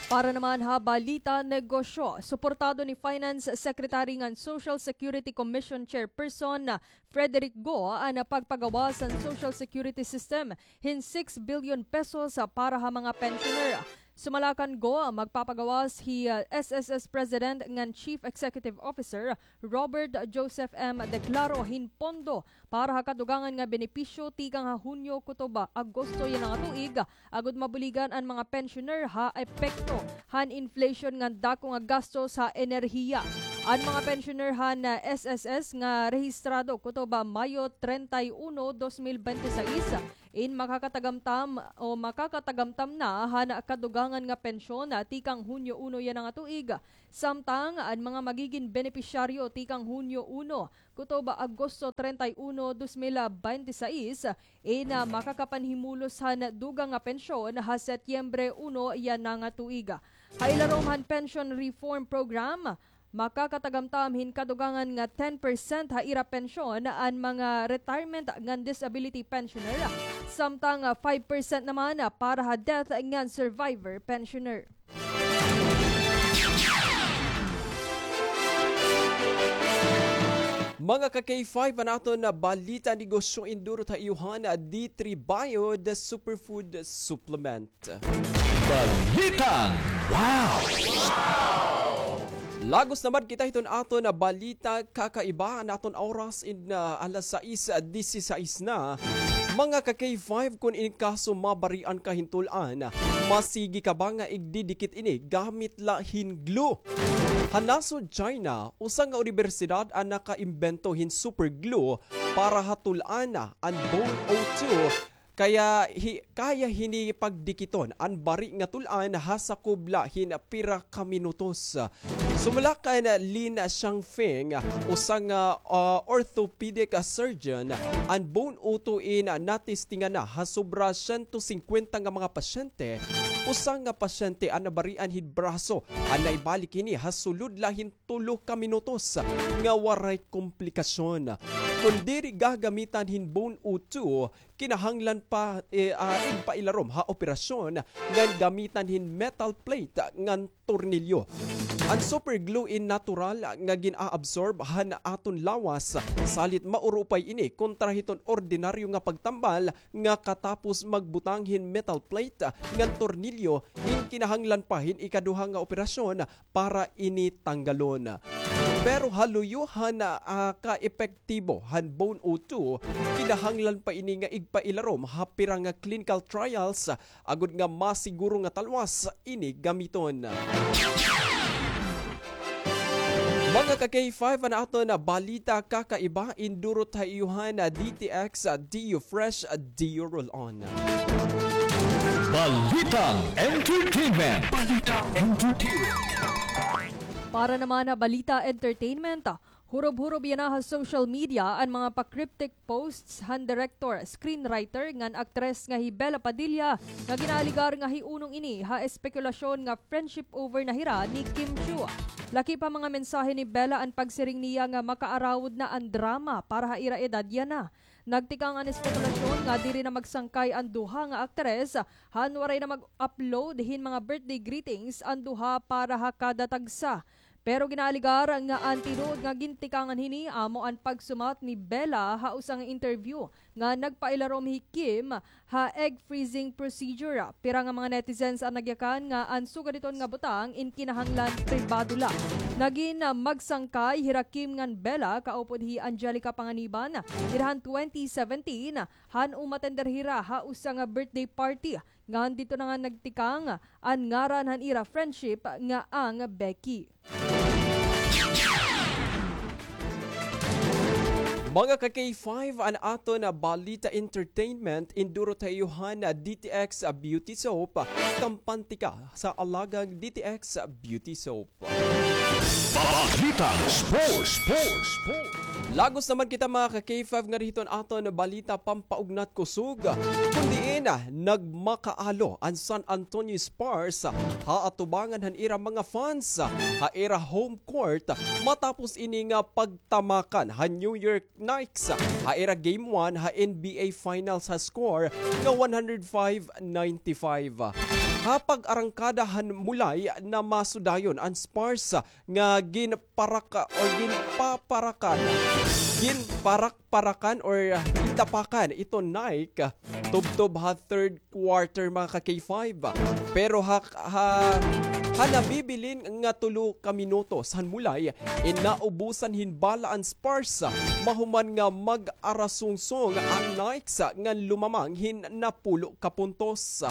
Para naman ha Balita Negosyo, suportado ni Finance Secretary ngan Social Security Commission Chairperson Frederick Go an pagpagawas han Social Security System hin six billion pesos para ha mga pensioner. Sumala kan Go, magpapagawas hi, ah, S S S President ngan Chief Executive Officer Robert Joseph M. Declaro hin pondo para ha kadugangan nga benepisyo tikang ha Hunyo kutob Agosto yana nga tuig, agod mabuligan an mga pensioner ha epekto han inflation ngan dako nga gastos ha enerhiya. An mga pensioner han, ah, S S S nga rehistrado kutob Mayo treinta y uno, dos mil bente y seis, in makakatagamtam o makakatagamtam na han kadugangan nga pensyon tikang Hunyo uno yana nga tuig. Samtang an mga magigin benepisyaryo tikang Hunyo uno kutob Agosto treinta y uno, dos mil bente y seis, in, ah, makakapanhimulos han dugang nga pensyon ha Setyembre uno yana nga tuig. Ha ilarom han Pension Reform Program, makakatagamtam hin kadugangan nga ten percent ha ira pensyon an mga retirement ngan disability pensioner, samtang, ah, five percent naman, ah, para ha death ngan survivor pensioner. Mga ka-K five, an aton balita negosyo indurot ha iyo han D three Bio, the superfood supplement. Balitang Wow! Lagos naman kita hiton aton balita kakaiba, an aton oras in, ah, alas sais disisais na. Mga ka-K five, kon in kaso mabarian ka hin tul-an, masigi ka ba nga igdidikit ini gamit la hin glue? Ha nasod China, usa nga unibersidad an nakaimbento hin super glue para ha tul-an, an Bone O two, kaya hi-, kaya hini pagdikiton an bari nga tul-an ha sakob la hin pira ka minutos. Sumala kan Lin Xiangfeng, usa nga, ah, orthopedic surgeon, an Bone O two in natestingan na ha sobra sento singkwenta nga mga pasyente. Usa nga pasyente an nabarian hin braso, an naibalik hini ha sulod la hin tulo ka minutos nga waray komplikasyon. Kon diri gagamitan hin Bone O two, kinahanglan pa, eh, ah, igpailarom ha operasyon ngan gamitan hin metal plate ngan tornilyo. An super glue in natural nga gin-aabsorb han aton lawas, salit maurupay ini kontra hiton ordinaryo nga pagtambal nga katapos magbutang hin metal plate ngan tornilyo, in kinahanglan pa hin ikaduha nga operasyon para ini tanggalon. Pero ha luyo han, ah, kaepektibo han Bone O two, kinahanglan pa ini nga igpailarom ha pira nga clinical trials agod nga masiguro nga talwas ini gamiton. Mga ka-K five, an aton balita kakaiba indurot ha iyo han D T X, D U Fresh, D U Roll On. Balitang Entertainment. Balitang Entertainment. Para naman ha balita entertainment, hurob-hurob yana ha social media an mga pa-cryptic posts han director, screenwriter ngan aktres nga hi Bella Padilla nga ginaaligar nga hiunong ini ha espekulasyon nga friendship over na hira ni Kim Chiu. Lakip ha mga mensahe ni Bella an pagsiring niya nga makaarawod na an drama para ha ira edad yana. Nagtikang an espekulasyon nga diri na magsangkay an duha nga aktres han waray na mag-upload hin mga birthday greetings an duha para ha kada tagsa. Pero ginaaligar nga an tinuod nga gintikangan hini amo an pagsumat ni Bella ha usa nga interview nga nagpailarom hi Kim ha egg freezing procedure. Pira nga mga netizens an nagyakan nga an sugad hiton nga butang in kinahanglan pribado la. Nagin, ah, magsangkay hira Kim ngan Bella kaupod hi Angelica Panganiban dida han twenty seventeen, han umatender hira ha usa nga birthday party. Ngan didto na nga nagtikang an ngaran han ira friendship nga ang Becky. Mga ka-K five, an aton balita entertainment indurot ha iyo han D T X Beauty Soap. Kampante ka sa alagang D T X Beauty Soap. Balitang Sports, Sports, Sports. Lagos naman kita, mga ka-K five, ngari hiton aton balita pampaugnat kusog. Kun diin nagmakaalo an San Antonio Spurs ha atubangan han ira mga fans ha ira home court matapos ini nga pagtamakan han New York Knicks ha ira game one ha N B A Finals ha score nga one hundred five ninety-five. Ha pag-arangkada han mulay, namasudayon an Spurs nga ginparaka-, o ginpaparakan, ginparak-parakan or gitapakan iton Nike tubtob ha third quarter, mga ka-K five. Pero ha, ha, ha nabibilin nga tulo ka minutos han mulay, in naubusan hin bala an Spurs, mahuman nga mag-arasungsong an Knicks ngan lumamang hin napulo ka puntos.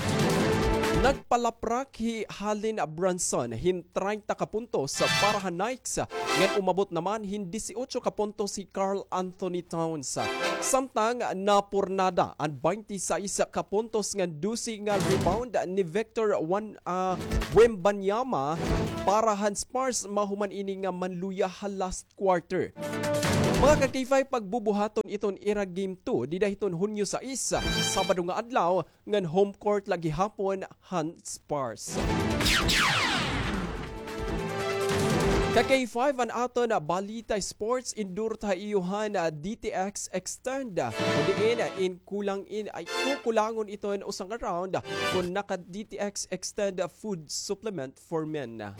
Nagpalaprak hi Jalen Brunson hin treinta ka puntos para ha Knicks, ngan umabot naman hin disiotso ka puntos hi Karl Anthony Towns. Samtang napurnada an baynte sais ka puntos ngan dose nga rebound ni Victor Wan-, ah, Wembanyama para han Spurs mahuman ini nga manluya ha last quarter. Mga ka-K five, pagbubuhaton iton ira game two dida hiton Hunyo sais, Sabado nga adlaw, ngan home court la gihapon han Spurs. Ka-K five, an aton balita sports, indurot ha iyo han, ah, D T X Extend. Diin, in kulang in, ay, kukulangon iton usa nga round kun naka-D T X Extend food supplement for men.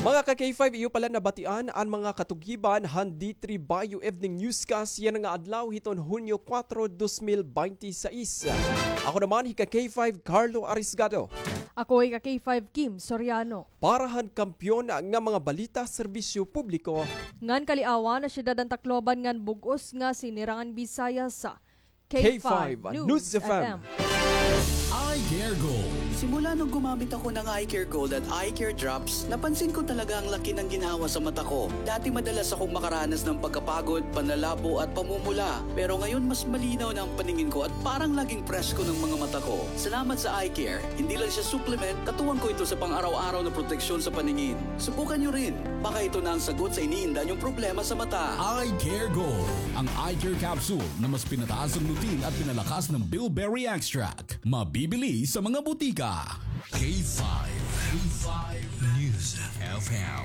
Mga ka-K five, iyo pala nabatian an mga katugiban han D three Bayo Evening Newscast yana nga adlaw hiton Hunyo kuwatro, dos mil baynte sais. Ako naman hi ka-K five Carlo Arisgado. Ako hi ka-K five Kim Soriano. Para han kampyon nga mga balita, serbisyo publiko ngan kaliawan ha siyudad han Tacloban ngan bug-os nga sinirangan Bisaya sa K five News F M. Eye Care Gold. Simula nung gumamit ako ng Eye Care Gold at Eye Care Drops, napansin ko talaga ang laki ng ginhawa sa mata ko. Dati madalas akong makaranas ng pagkapagod, panlalabo at pamumula. Pero ngayon mas malinaw na ang paningin ko at parang laging presko ng mga mata ko. Salamat sa Eye Care. Hindi lang siya supplement, katuwang ko ito sa pang-araw-araw na proteksyon sa paningin. Subukan niyo rin. Baka ito na ang sagot sa iniinda niyong problema sa mata. Eye Care Gold, ang eye care capsule na mas pinataas ang lutein at pinalakas ng bilberry extract. Mabibili sa mga butika. K five, K five News F M,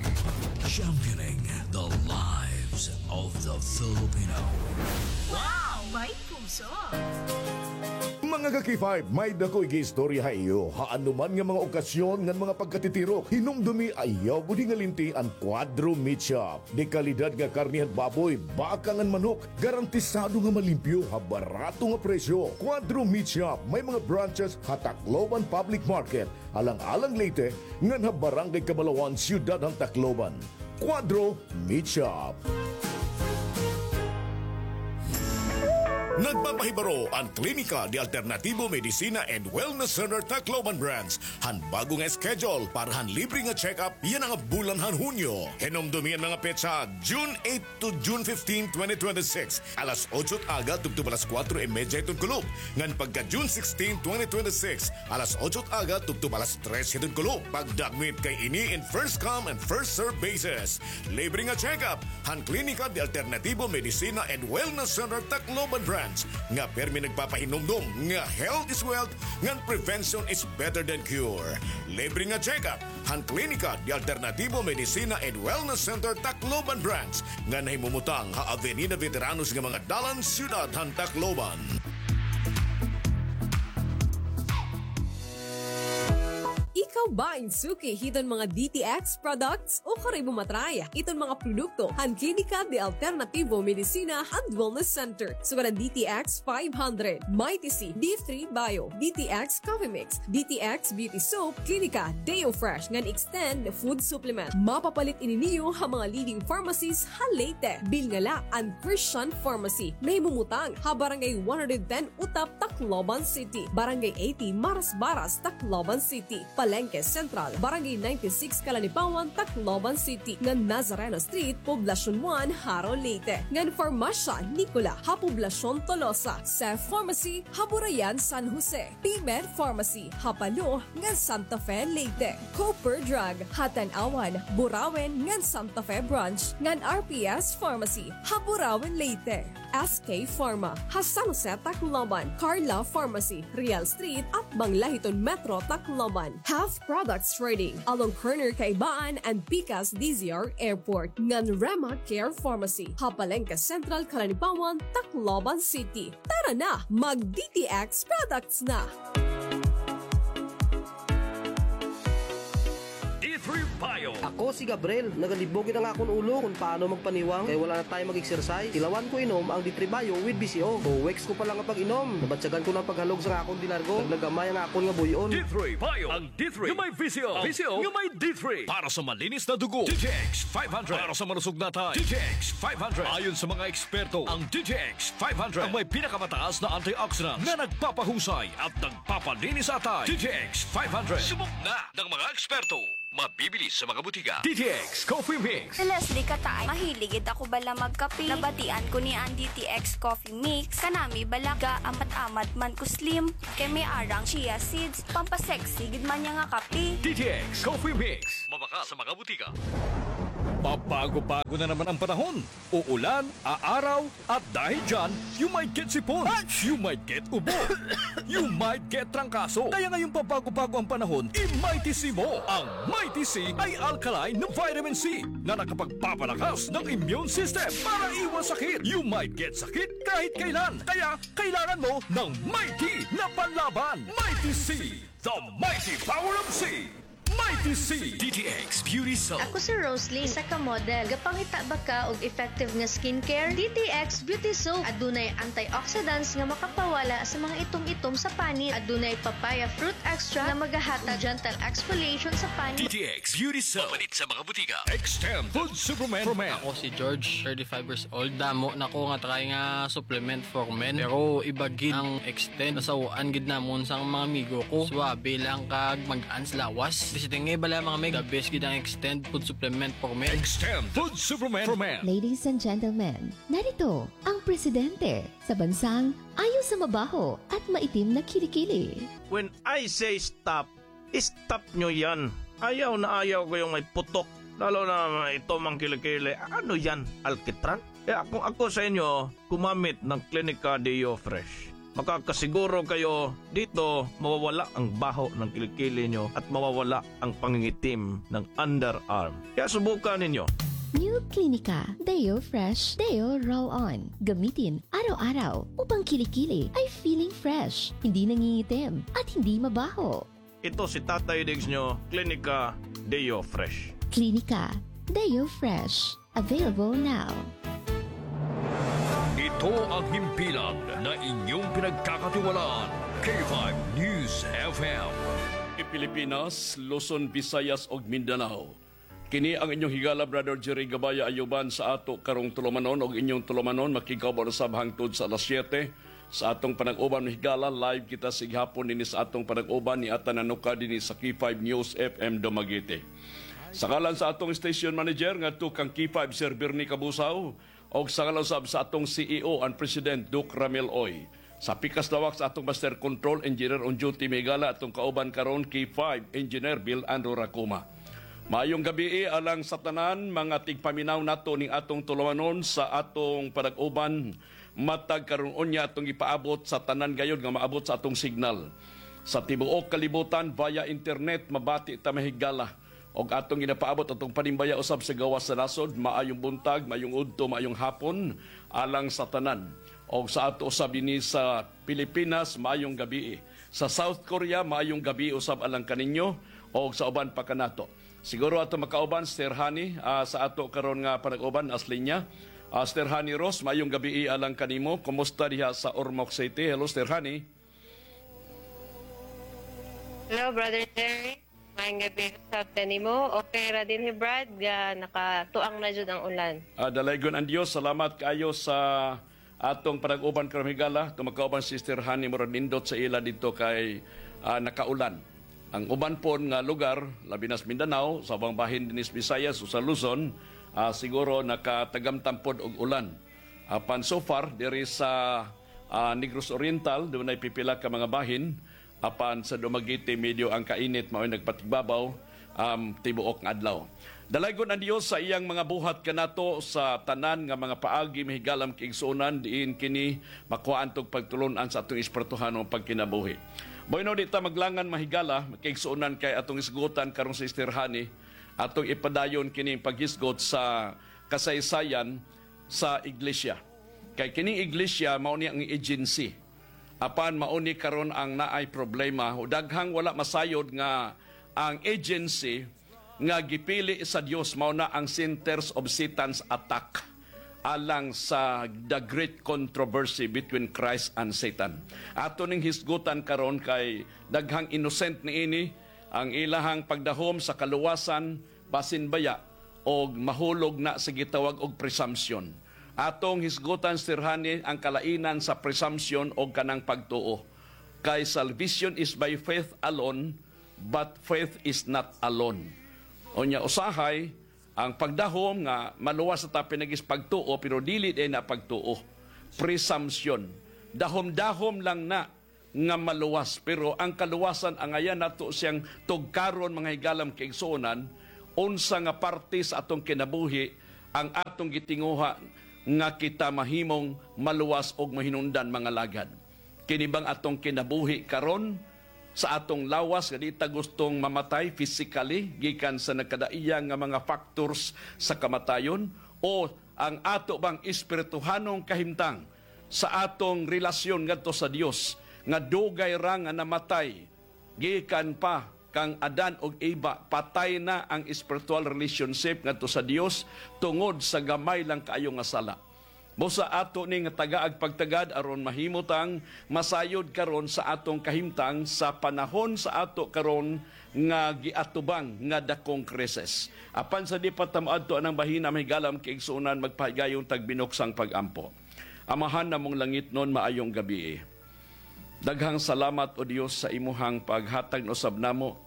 championing the lives of the Filipino. Wow! May puso! Mga ka-K five, may dako igiistorya ha iyo. Ha anuman nga mga okasyon ngan mga pagkatitirok, hinumdumi ayaw gud hingalinti an Cuadro Meat Shop. De kalidad nga karne han baboy, baka ngan manok, garantisado nga malimpyo ha barato nga presyo. Cuadro Meat Shop, may mga branches ha Tacloban Public Market, Alang-alang, Leyte, ngan ha Barangay Cabalawan, Siyudad han Tacloban. Cuadro Meat Shop. Nagpapahibaro an Klinika de Alternativo Medicina and Wellness Center Tacloban Branch han bago nga schedule para han libre nga check-up yana nga bulan han Hunyo. Hinumdomi an mga petsa, June eight to June fifteen, twenty twenty-six, alas otso it aga tubtob alas kuwatro y medya hiton kulop, ngan pagka June sixteen, twenty twenty-six, alas otso it aga tubtob alas tres hiton kulop. Pagdagmit kay ini in first come and first serve basis. Libre nga check-up han Klinika de Alternativo Medicina and Wellness Center Tacloban Branch nga pirmi nagpapahinumdom nga health is wealth ngan prevention is better than cure. Libre nga check-up han Klinika de Alternativo Medicina and Wellness Center Tacloban Branch nga nahimumutang ha Avenida Veteranos nga mga dalan, Siyudad han Tacloban. Ikaw ba in suki hiton mga D T X products? O kari mo matry iton mga produkto han Klinika de Alternativo Medicina and Wellness Center? Sugad an D T X five hundred, Mighty C, D three Bio, D T X Coffee Mix, D T X Beauty Soap, Klinika Deo Fresh ngan Extend Food Supplement. Mapapalit ini niyo ha mga leading pharmacies ha Leyte. Bilngala an Christian Pharmacy, nahimumutang ha Barangay one hundred ten Utap, Tacloban City, Barangay eighty Marasbaras, Tacloban City, Palengke Central, Barangay ninety-six, Calanipaon, Tacloban City, ngan Nazareno Street, Poblacion one, Jaro, Leyte, ngan Farmacia Nicola ha Poblacion Tolosa, Seth Pharmacy ha Burayan, San Jose, P-Med Pharmacy ha Palo ngan Santa Fe, Leyte, Cooper Drug ha Tanauan, Burauen ngan Santa Fe Branch, ngan R P S Pharmacy ha Burauen, Leyte. S K Pharma ha San Jose, Tacloban, Carla Pharmacy, Real Street, atbang la hiton Metro Tacloban. Health Products Trading, along corner Kaibaan and Pikas D Z R Airport, ngan Rema Care Pharmacy ha Palengke Central, Calanipaon, Tacloban City. Tara na, mag D T X products na! D three Bio. Ako si Gabriel. Nagalibog gid an akon ulo kon paano magpaniwang kay wala na tayo mag-exercise. Tilawan ko inom ang D three Bio with B C O. Two weeks ko pa lang nga pag-inom, nabatyagan ko na an paghalog sa akon dinargo. Naglagamay ang akon nga buy-on. D three Bio, ang D three nga may B C O. Ang B C O nga may D three. Para sa malinis na dugo, D T X five hundred. Para sa malusog na atay, D T X five hundred. Ayon sa mga eksperto, ang D T X five hundred ang may pinakamataas na antioxidant na nagpapahusay at nagpapalinis sa atay. D T X five hundred. Subok na ng mga eksperto. Mabibili sa mga butika. D T X Coffee Mix. Si Leslie Kataay, mahilig gid ako bala magkape. Nabatian ko niya an D T X Coffee Mix. Kanami bala, gaamat-amat man ko slim. Kay may arang chia seeds, pampasexy gid man niya nga kape. D T X Coffee Mix. Mabakal sa mga butika. Pabago-bago na naman ang panahon. Uulan, aaraw, at dahil dyan, you might get sipon, you might get ubo, you might get trangkaso. Kaya ngayong pabago-bago ang panahon, i-Mighty C mo. Ang Mighty C ay alkaline na vitamin C na nakapagpapalakas ng immune system para iwas sakit. You might get sakit kahit kailan. Kaya kailangan mo ng Mighty na panlaban. Mighty C, the mighty power of C. Mighty C. D T X Beauty Soap. Ako si Roslyn, isa ka model. Gapangita ba ka og effective nga skincare? D T X Beauty Soap. Adunay antioxidants nga makapawala sa mga itom-itom sa panit. Adunay papaya fruit extract nga magahatag gentle exfoliation sa panit. D T X Beauty Soap. Mapalit sa mga butika. Extend Food Supplement for Men. Ako si George, thirty-five years old. Damo na ko nga try nga supplement for men. Pero iba gid ang Extend. Nasaw-an gid namon sa mga amigo ko. Suwabe lang kag magaan sa lawas. Basta nga bala mga meg, the best gid ang Extend Food Supplement for Men. Extend Food Supplement for Men. Ladies and gentlemen, narito ang presidente sa bansang ayaw sa mabaho at maitim na kilikili. When I say stop, stop nyo yan. Ayaw na ayaw ko yung may putok. Lalo na ito mang kilikili. Ano yan? Alkitran? Kaya kung ako sa inyo, gumamit ng Clinica Deo Fresh. Makakasiguro kayo dito mawawala ang baho ng kilikili nyo at mawawala ang pangingitim ng underarm. Kaya subukan ninyo. New Clinica Deo Fresh Deo Roll On. Gamitin araw-araw upang kilikili ay feeling fresh, hindi nangingitim, at hindi mabaho. Ito si Tatay Diggs nyo, Clinica Deo Fresh. Clinica Deo Fresh. Available now. Ito ang himpilan na inyong pinagkakatiwalaan, K five News F M. Pilipinas, Luzon, Visayas, ug Mindanao. Kini ang inyong higala, Brother Jerry Gabaya Ayuban, sa ato karong tulumanon, ug inyong tulumanon makigkauban usab hangtod sa alas siyete sa atong panag-uban. Higala, live kita sa ighapon dinhi sa atong panag-uban ni Atan Nanuka dinhi sa K five News F M Dumaguete. Sa ngalan sa atong station manager ngadto kang K five, Sir Bernie Kabusaw, og sa ngalan usab sa atong C E O and President, Doc Ramil Oy. Sa pikas lawak sa atong master control, engineer on duty, mga higala, atong kauban karon, K five Engineer Bill Andrew Racuma. Maayong gabii alang sa tanan, mga tigpaminaw nato ning atong tulumanon sa atong panag-uban. Matag karon unya atong ipaabot sa tanan gayod nga maabot sa atong signal. Sa tibuok kalibutan, via internet, mabati ta, mga higala. Og atong ginapaabot atong panimbaya usab sa gawas sa nasod, maayong buntag, maayong udto, maayong hapon, alang sa tanan. Og sa ato usab dinhi sa Pilipinas, maayong gabii. Sa South Korea, maayong gabii usab alang kaninyo. Og sa uban pa kanato. Siguro ato makauban, Sister Honey, ah, sa ato karon nga panag-uban, as linya. Ah, Sister Honey Rose, maayong gabii alang kanimo. Kumusta diha sa Ormoc City? Hello, Sister Honey. Hello, Brother Jerry. Maayong gabii usab kanimo. Okay ra dinhi, Brad, nga nakatuang na jud ang ulan. Ah, dalaygon ang Dios. Salamat kaayo sa atong panag-uban karong higala. Atong makauban, Sister Honey, murag nindot sa ila didto kay, ah, nakaulan. Ang uban pod nga lugar, labi na sa Mindanao, sa ubang bahin dinhi sa Visayas o sa Luzon, ah, siguro nakatagamtam pod og ulan. Apan so far, diri sa, ah, Negros Oriental, dunay pipila ka mga bahin, apan sa Dumaguete, medyo ang kainit mao'y nagpatigbabaw, um, tibuok nga adlaw. Dalaygon ang Dios sa iyang mga buhat kanato sa tanan nga mga paagi, mga higala, mga kaigsuonan, diin kini makuhaan tog pagtulon-an sa atong espirituhanong pagkinabuhi. Bueno, di ta maglangan, mga higala, mga kaigsuonan, kay atong hisgutan karon si Sister Honey, atong ipadayon kining paghisgot sa kasaysayan sa iglesia. Kay kining iglesia, mao ni ang agency. Apan mao ni karon ang naay problema. Daghang wala masayod nga ang agency nga gipili sa Dios mao na ang centers of Satan's attack alang sa the great controversy between Christ and Satan. Ato ning hisgutan karon kay daghang innocent niini ang ilahang pagdahom sa kaluwasan, basin baya og mahulog na sa gitawag og presumption. Atong hisgutan, Sister Honey, ang kalainan sa presumption og kanang pagtuo. Kay salvation is by faith alone, but faith is not alone. Unya, usahay, ang pagdahom nga maluwas ta pinaagi sa pagtuo, pero dili diay na pagtuo. Presumption. Dahom-dahom lang na nga maluwas. Pero ang kaluwasan, angayan nato siyang tugkaron, mga higala, mga kaigsuonan, unsa nga parte sa atong kinabuhi ang atong gitinguha nga kita mahimong maluwas og mahinungdan, mga lagad. Kini bang atong kinabuhi karon sa atong lawas nga di ta gustong mamatay physically gikan sa nagkadaiya nga mga factors sa kamatayon, o ang ato bang espirituhanong kahimtang sa atong relasyon ngadto sa Dios, nga dugay ra nga namatay gikan pa kang Adan ug Eva, patay na ang spiritual relationship ngadto sa Dios tungod sa gamay lang kaayo nga sala. Busa ato ni nga tagaag pagtagad aron mahimo tang masayod karon sa atong kahimtang sa panahon sa ato karon nga giatubang nga dakong krisis. Apan sa di pa ta moadto anang bahina, mga higala, mga kaigsuonan, magpahigayon tag binuksang pag-ampo. Amahan namong langitnon, maayong gabii. Daghang salamat, O Dios, sa imuhang paghatag na usab namo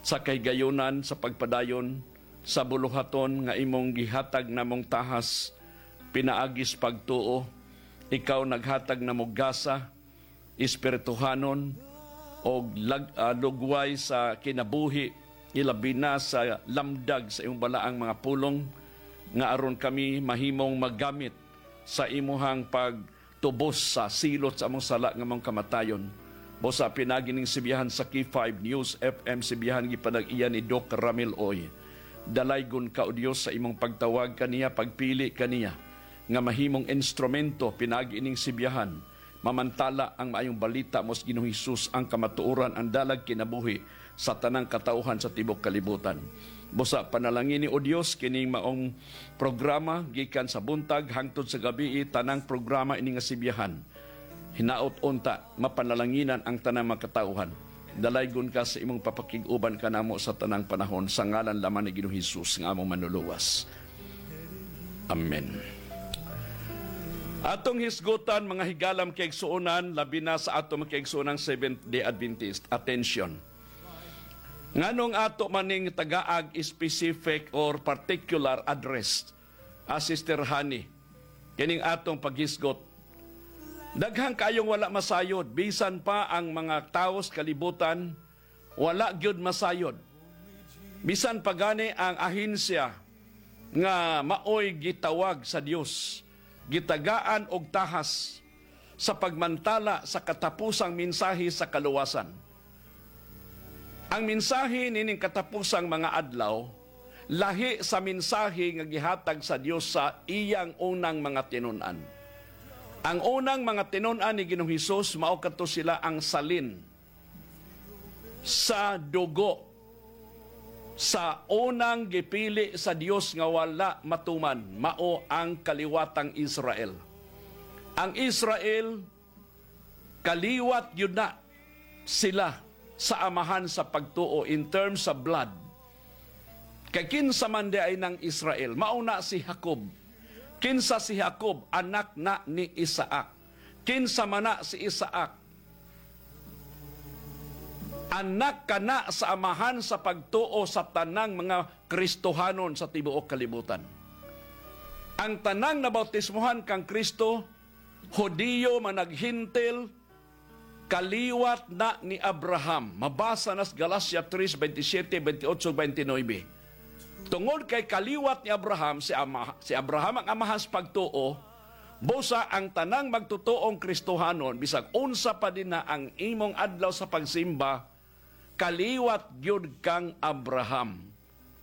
sa kahigayunan sa pagpadayon sa buluhaton nga imong gihatag namong tahas pinaagi sa pagtuo. Ikaw naghatag namo gasa, espirituhanon, og lag-, ah, lugway sa kinabuhi, ilabi na sa lamdag sa imong balaang mga pulong, nga aron kami mahimong magamit sa imuhang pagtubos sa silot sa among sala nga among kamatayon. Busa pinaagi ning sibiyahan sa K five News F M, sibiyahan gipanag-iya ni Doc Ramil Oy. Dalaygon ka, O Dios, sa imong pagtawag kaniya, pagpili kaniya nga mahimong instrumento pinaagi ning sibiyahan. Mamantala ang maayong balita, mao si Ginoong Hesus ang kamatuoran, ang dalag kinabuhi sa tanang katawhan sa tibuok kalibutan. Busa panalangini, O Dios, kining maong programa gikan sa buntag hangtod sa gabii, tanang programa ini nga sibiyahan. Hinaot unta mapanalanginan ang tanang mga katawhan. Dalaygon ka sa imong papakig-uban kanamo sa tanang panahon, sa ngalan lamang ni Ginoong Hesus nga among Manluluwas. Amen. Atong hisgutan, mga higala, mga kaigsuonan, labi na sa ato mga kaigsuonang Seventh Day Adventist. Attention. Nganong ato man ning tagaag specific or particular address, ah, Sister Honey, kining atong paghisgot? Daghan kaayong wala masayod, bisan pa ang mga tawo sa kalibutan, wala gyud masayod. Bisan pa gani ang ahensya nga maoy gitawag sa Dios, gitagaan og tahas sa pagmantala sa katapusang mensahe sa kaluwasan. Ang mensahe nining katapusang mga adlaw, lahi sa mensahe nga gihatag sa Dios sa iyang unang mga tinun-an. Ang unang mga tinun-an ni Ginoong Hesus, mao kadto sila ang salin sa dugo sa unang gipili sa Dios nga wala matuman, mao ang kaliwatang Israel. Ang Israel, kaliwat gyud na sila sa amahan sa pagtuo in terms sa blood. Kay kinsa man diay nang Israel? Mao na si Jacob. Kinsa si Jacob? Anak na ni Isaac. Kinsa man na si Isaac? Anak kana sa Amahan sa pagtuo sa tanang mga Kristohanon sa tibuok kalibutan. Ang tanang nabautismohan kan Kristo, Hudiyo man naghentil, kaliwat na ni Abraham. Mabasa na sa Galacia tres, veintisiete, veintiocho, veintinuebe. Tungod kay kaliwat ni Abraham, si, ama, si Abraham ang amahan sa pagtuo, busa ang tanang magtutuong Kristohanon, bisag unsa pa dinha ang imong adlaw sa pagsimba, kaliwat gyud kang Abraham.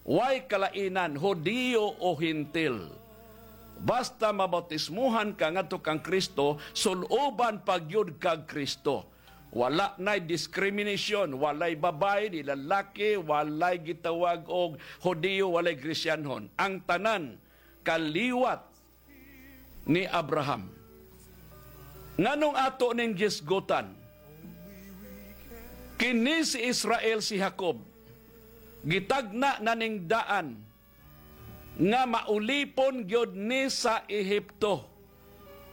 Way kalainan, Hudiyo o Hentil. Basta mabautismohan ka ngadto kang Kristo, sul-oban pa gyud kag Kristo. Wala nay discrimination, walay babaye, di lalaki, walay gitawag og Hudiyo, walay Kristiyanhon. Ang tanan, kaliwat ni Abraham. Nganong ato ning gisgutan? Kini si Israel, si Jacob, gitagna na ning daan nga maulipon gyud ni sa Ehipto.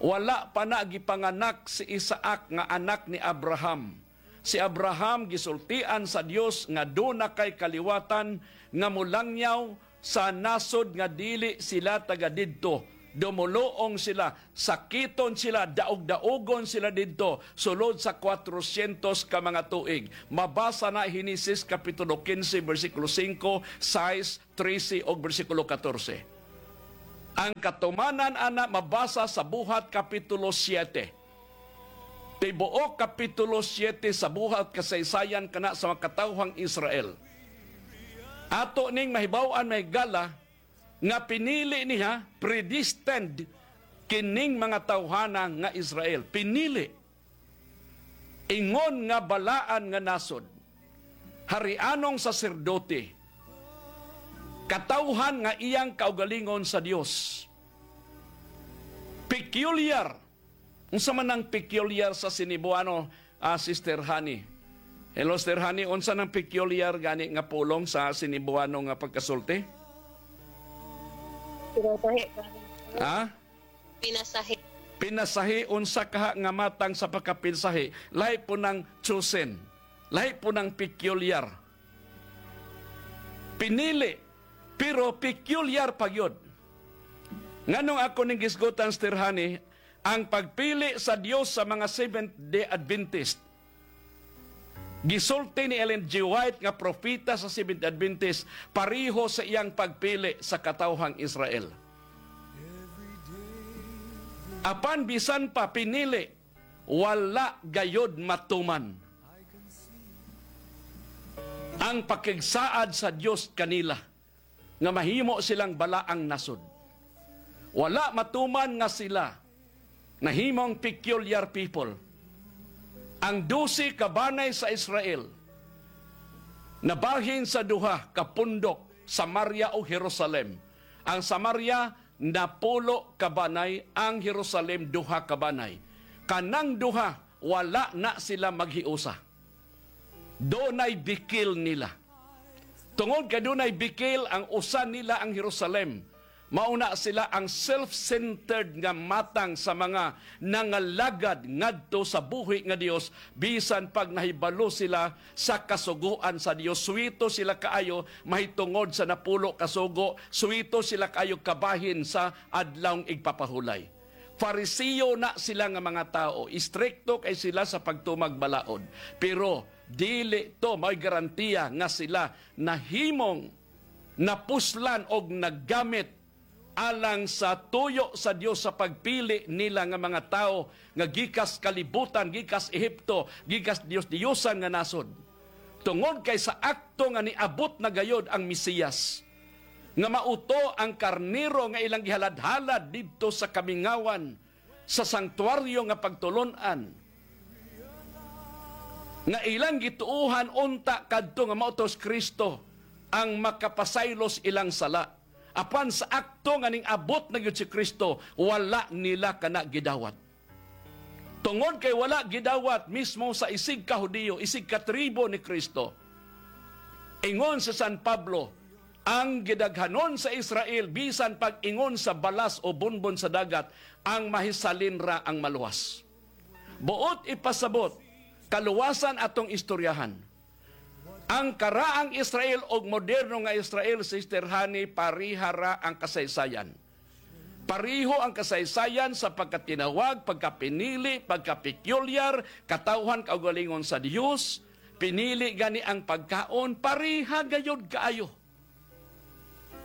Wala pa na gipanganak si Isaac nga anak ni Abraham. Si Abraham gisultian sa Dios nga duna kay kaliwatan nga molangyaw sa nasod nga dili sila taga didto. Dumoloong sila, sakiton sila, daog-daogon sila didto, sulod sa kwatrosyentos ka mga tuig. Mabasa na Henesis Kapitulo kinse, bersikulo singko, sais, trese, ug bersikulo katorse. Ang katumanan ana mabasa sa Buhat Kapitulo siyete. Tibuok Kapitulo siyete sa Buhat, kasaysayan kana sa mga katawhang Israel. Ato ning mahibaw-an, mga higala, nga pinili niya, predestined, kining mga tawhana nga Israel. Pinili. Ingon nga balaan nga nasod. Harianong saserdote. Katawhan nga iyang kaugalingon sa Dios. Peculiar. Unsa man ang peculiar sa Cenebuano, ah, Sister Honey? Hello, Sister Honey, unsa nang peculiar gani nga pulong sa Cenebuano nga pagkasulti? Pinasahi. Ha? Pinasahi. Pinasahi, unsa kaha nga matang sa pagkapinsahi? Lahi pod nang chosen. Lahi pod nang peculiar. Pinili, pero peculiar pa gyud. Nganong ako ning gisgutan, Sister Honey, ang pagpili sa Dios sa mga Seventh-day Adventist? Gisulti ni Ellen G. White nga propeta sa Seventh-day Adventist, pareho sa iyang pagpili sa katawhang Israel. Apan bisan pa pinili, wala gayud matuman ang pakigsaad sa Dios kanila nga mahimo silang balaang nasod. Wala matuman nga sila nahimong peculiar people. Ang dose ka banay sa Israel nabahin sa duha ka pundok, Samaria o Jerusalem. Ang Samaria, napulo ka banay, ang Jerusalem, duha ka banay. Kanang duha, wala na sila maghiusa. Dunay bikil nila. Tungod kay dunay bikil, ang usa nila ang Jerusalem. Mao na sila ang self-centered nga matang sa mga nangalagad ngadto sa buhi nga Dios, bisan pag nahibalo sila sa kasugoan sa Dios. Suwito sila kaayo mahitungod sa napulo ka sugo, suwito sila kaayo kabahin sa adlawng igpapahulay. Fariseo na sila nga mga tawo, istrikto kay sila sa pagtumag balaod. Pero dili to mao'y garantiya nga sila nahimong napuslan og naggamit alang sa tuyo sa Dios sa pagpili nila nga mga tawo nga gikas kalibutan, gikas Ehipto, gikas diyos-diyosan nga nasod. Tungod kay sa akto nga niabot na gayod ang Mesiyas, nga mao to ang karnero nga ilang gihalad-halad didto sa kamingawan, sa sangtuaryo nga pagtulon-an, nga ilang gituohan unta kadto nga mao to si Kristo ang makapasaylo sa ilang sala. Apan sa akto nga ning-abot na gyud si Kristo, wala nila kana gidawat. Tungod kay wala gidawat mismo sa isigka Hudiyo, isigka tribo ni Kristo. Ingon si San Pablo, ang gidaghanon sa Israel, bisan pag-ingon sa balas o bunbon sa dagat, ang mahisalin ra ang maluwas. Buot ipasabot, kaluwasan atong istoryahan. Ang karaang Israel ug moderno nga Israel, Sister Honey, pareha ra ang kasaysayan. Pareho ang kasaysayan sa pagkatinawag, pagkapinili, pagkapekulyar, katawhan, kaugalingon sa Dios, pinili gani ang pagkaon, pareha gayud kaayo.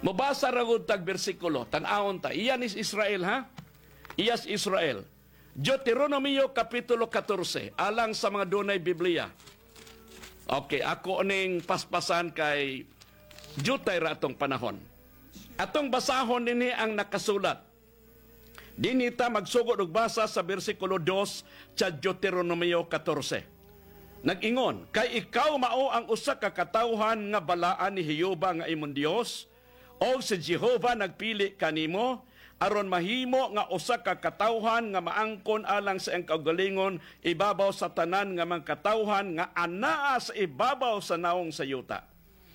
Mabasa ra gud tag bersikulo, tan-awon ta. Iya ni Israel, ha? Iya si Israel. Deuteronomio Kapitulo katorse, alang sa mga dunay Biblia. Okay, ako ning paspasan kay diutay ra atong panahon. Atong basahon dinhi ang nakasulat. Dinhi ta magsugod og basa sa bersikulo dos sa Deuteronomio katorse. Nag-ingon, "Kay ikaw mao ang usa ka katawhan nga balaan ni Jehovah nga imong Dios, og si Jehovah nagpili kanimo, aron mahimo nga usa ka katawhan nga maangkon alang sa iyang kaugalingon ibabaw sa tanan nga mga katawhan nga anaa sa ibabaw sa nawong sa yuta."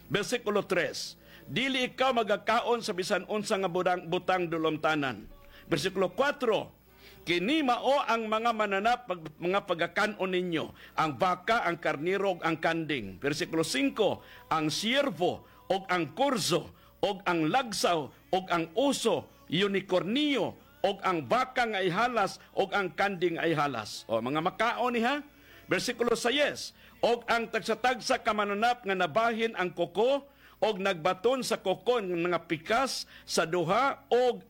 Bersikulo tres, "Dili ikaw magakaon sa bisan unsa nga budang, butang dulomtanan." Bersikulo kuwatro, "Kini mao ang mga mananap, pag-, mga pagakan-on ninyo, ang baka, ang karnero, ug ang kanding." Bersikulo singko, "Ang siyerbo, ug ang kurso, ug ang lagsaw, ug ang uso, unikornyo, ug ang baka nga ihalas, ug ang kanding nga ihalas." O, mga makaon niha. Bersikulo sais, "Ug ang tagsa-tagsa ka mananap nga nabahin ang kuko, ug nagbaton sa kuko nga pikas sa duha, ug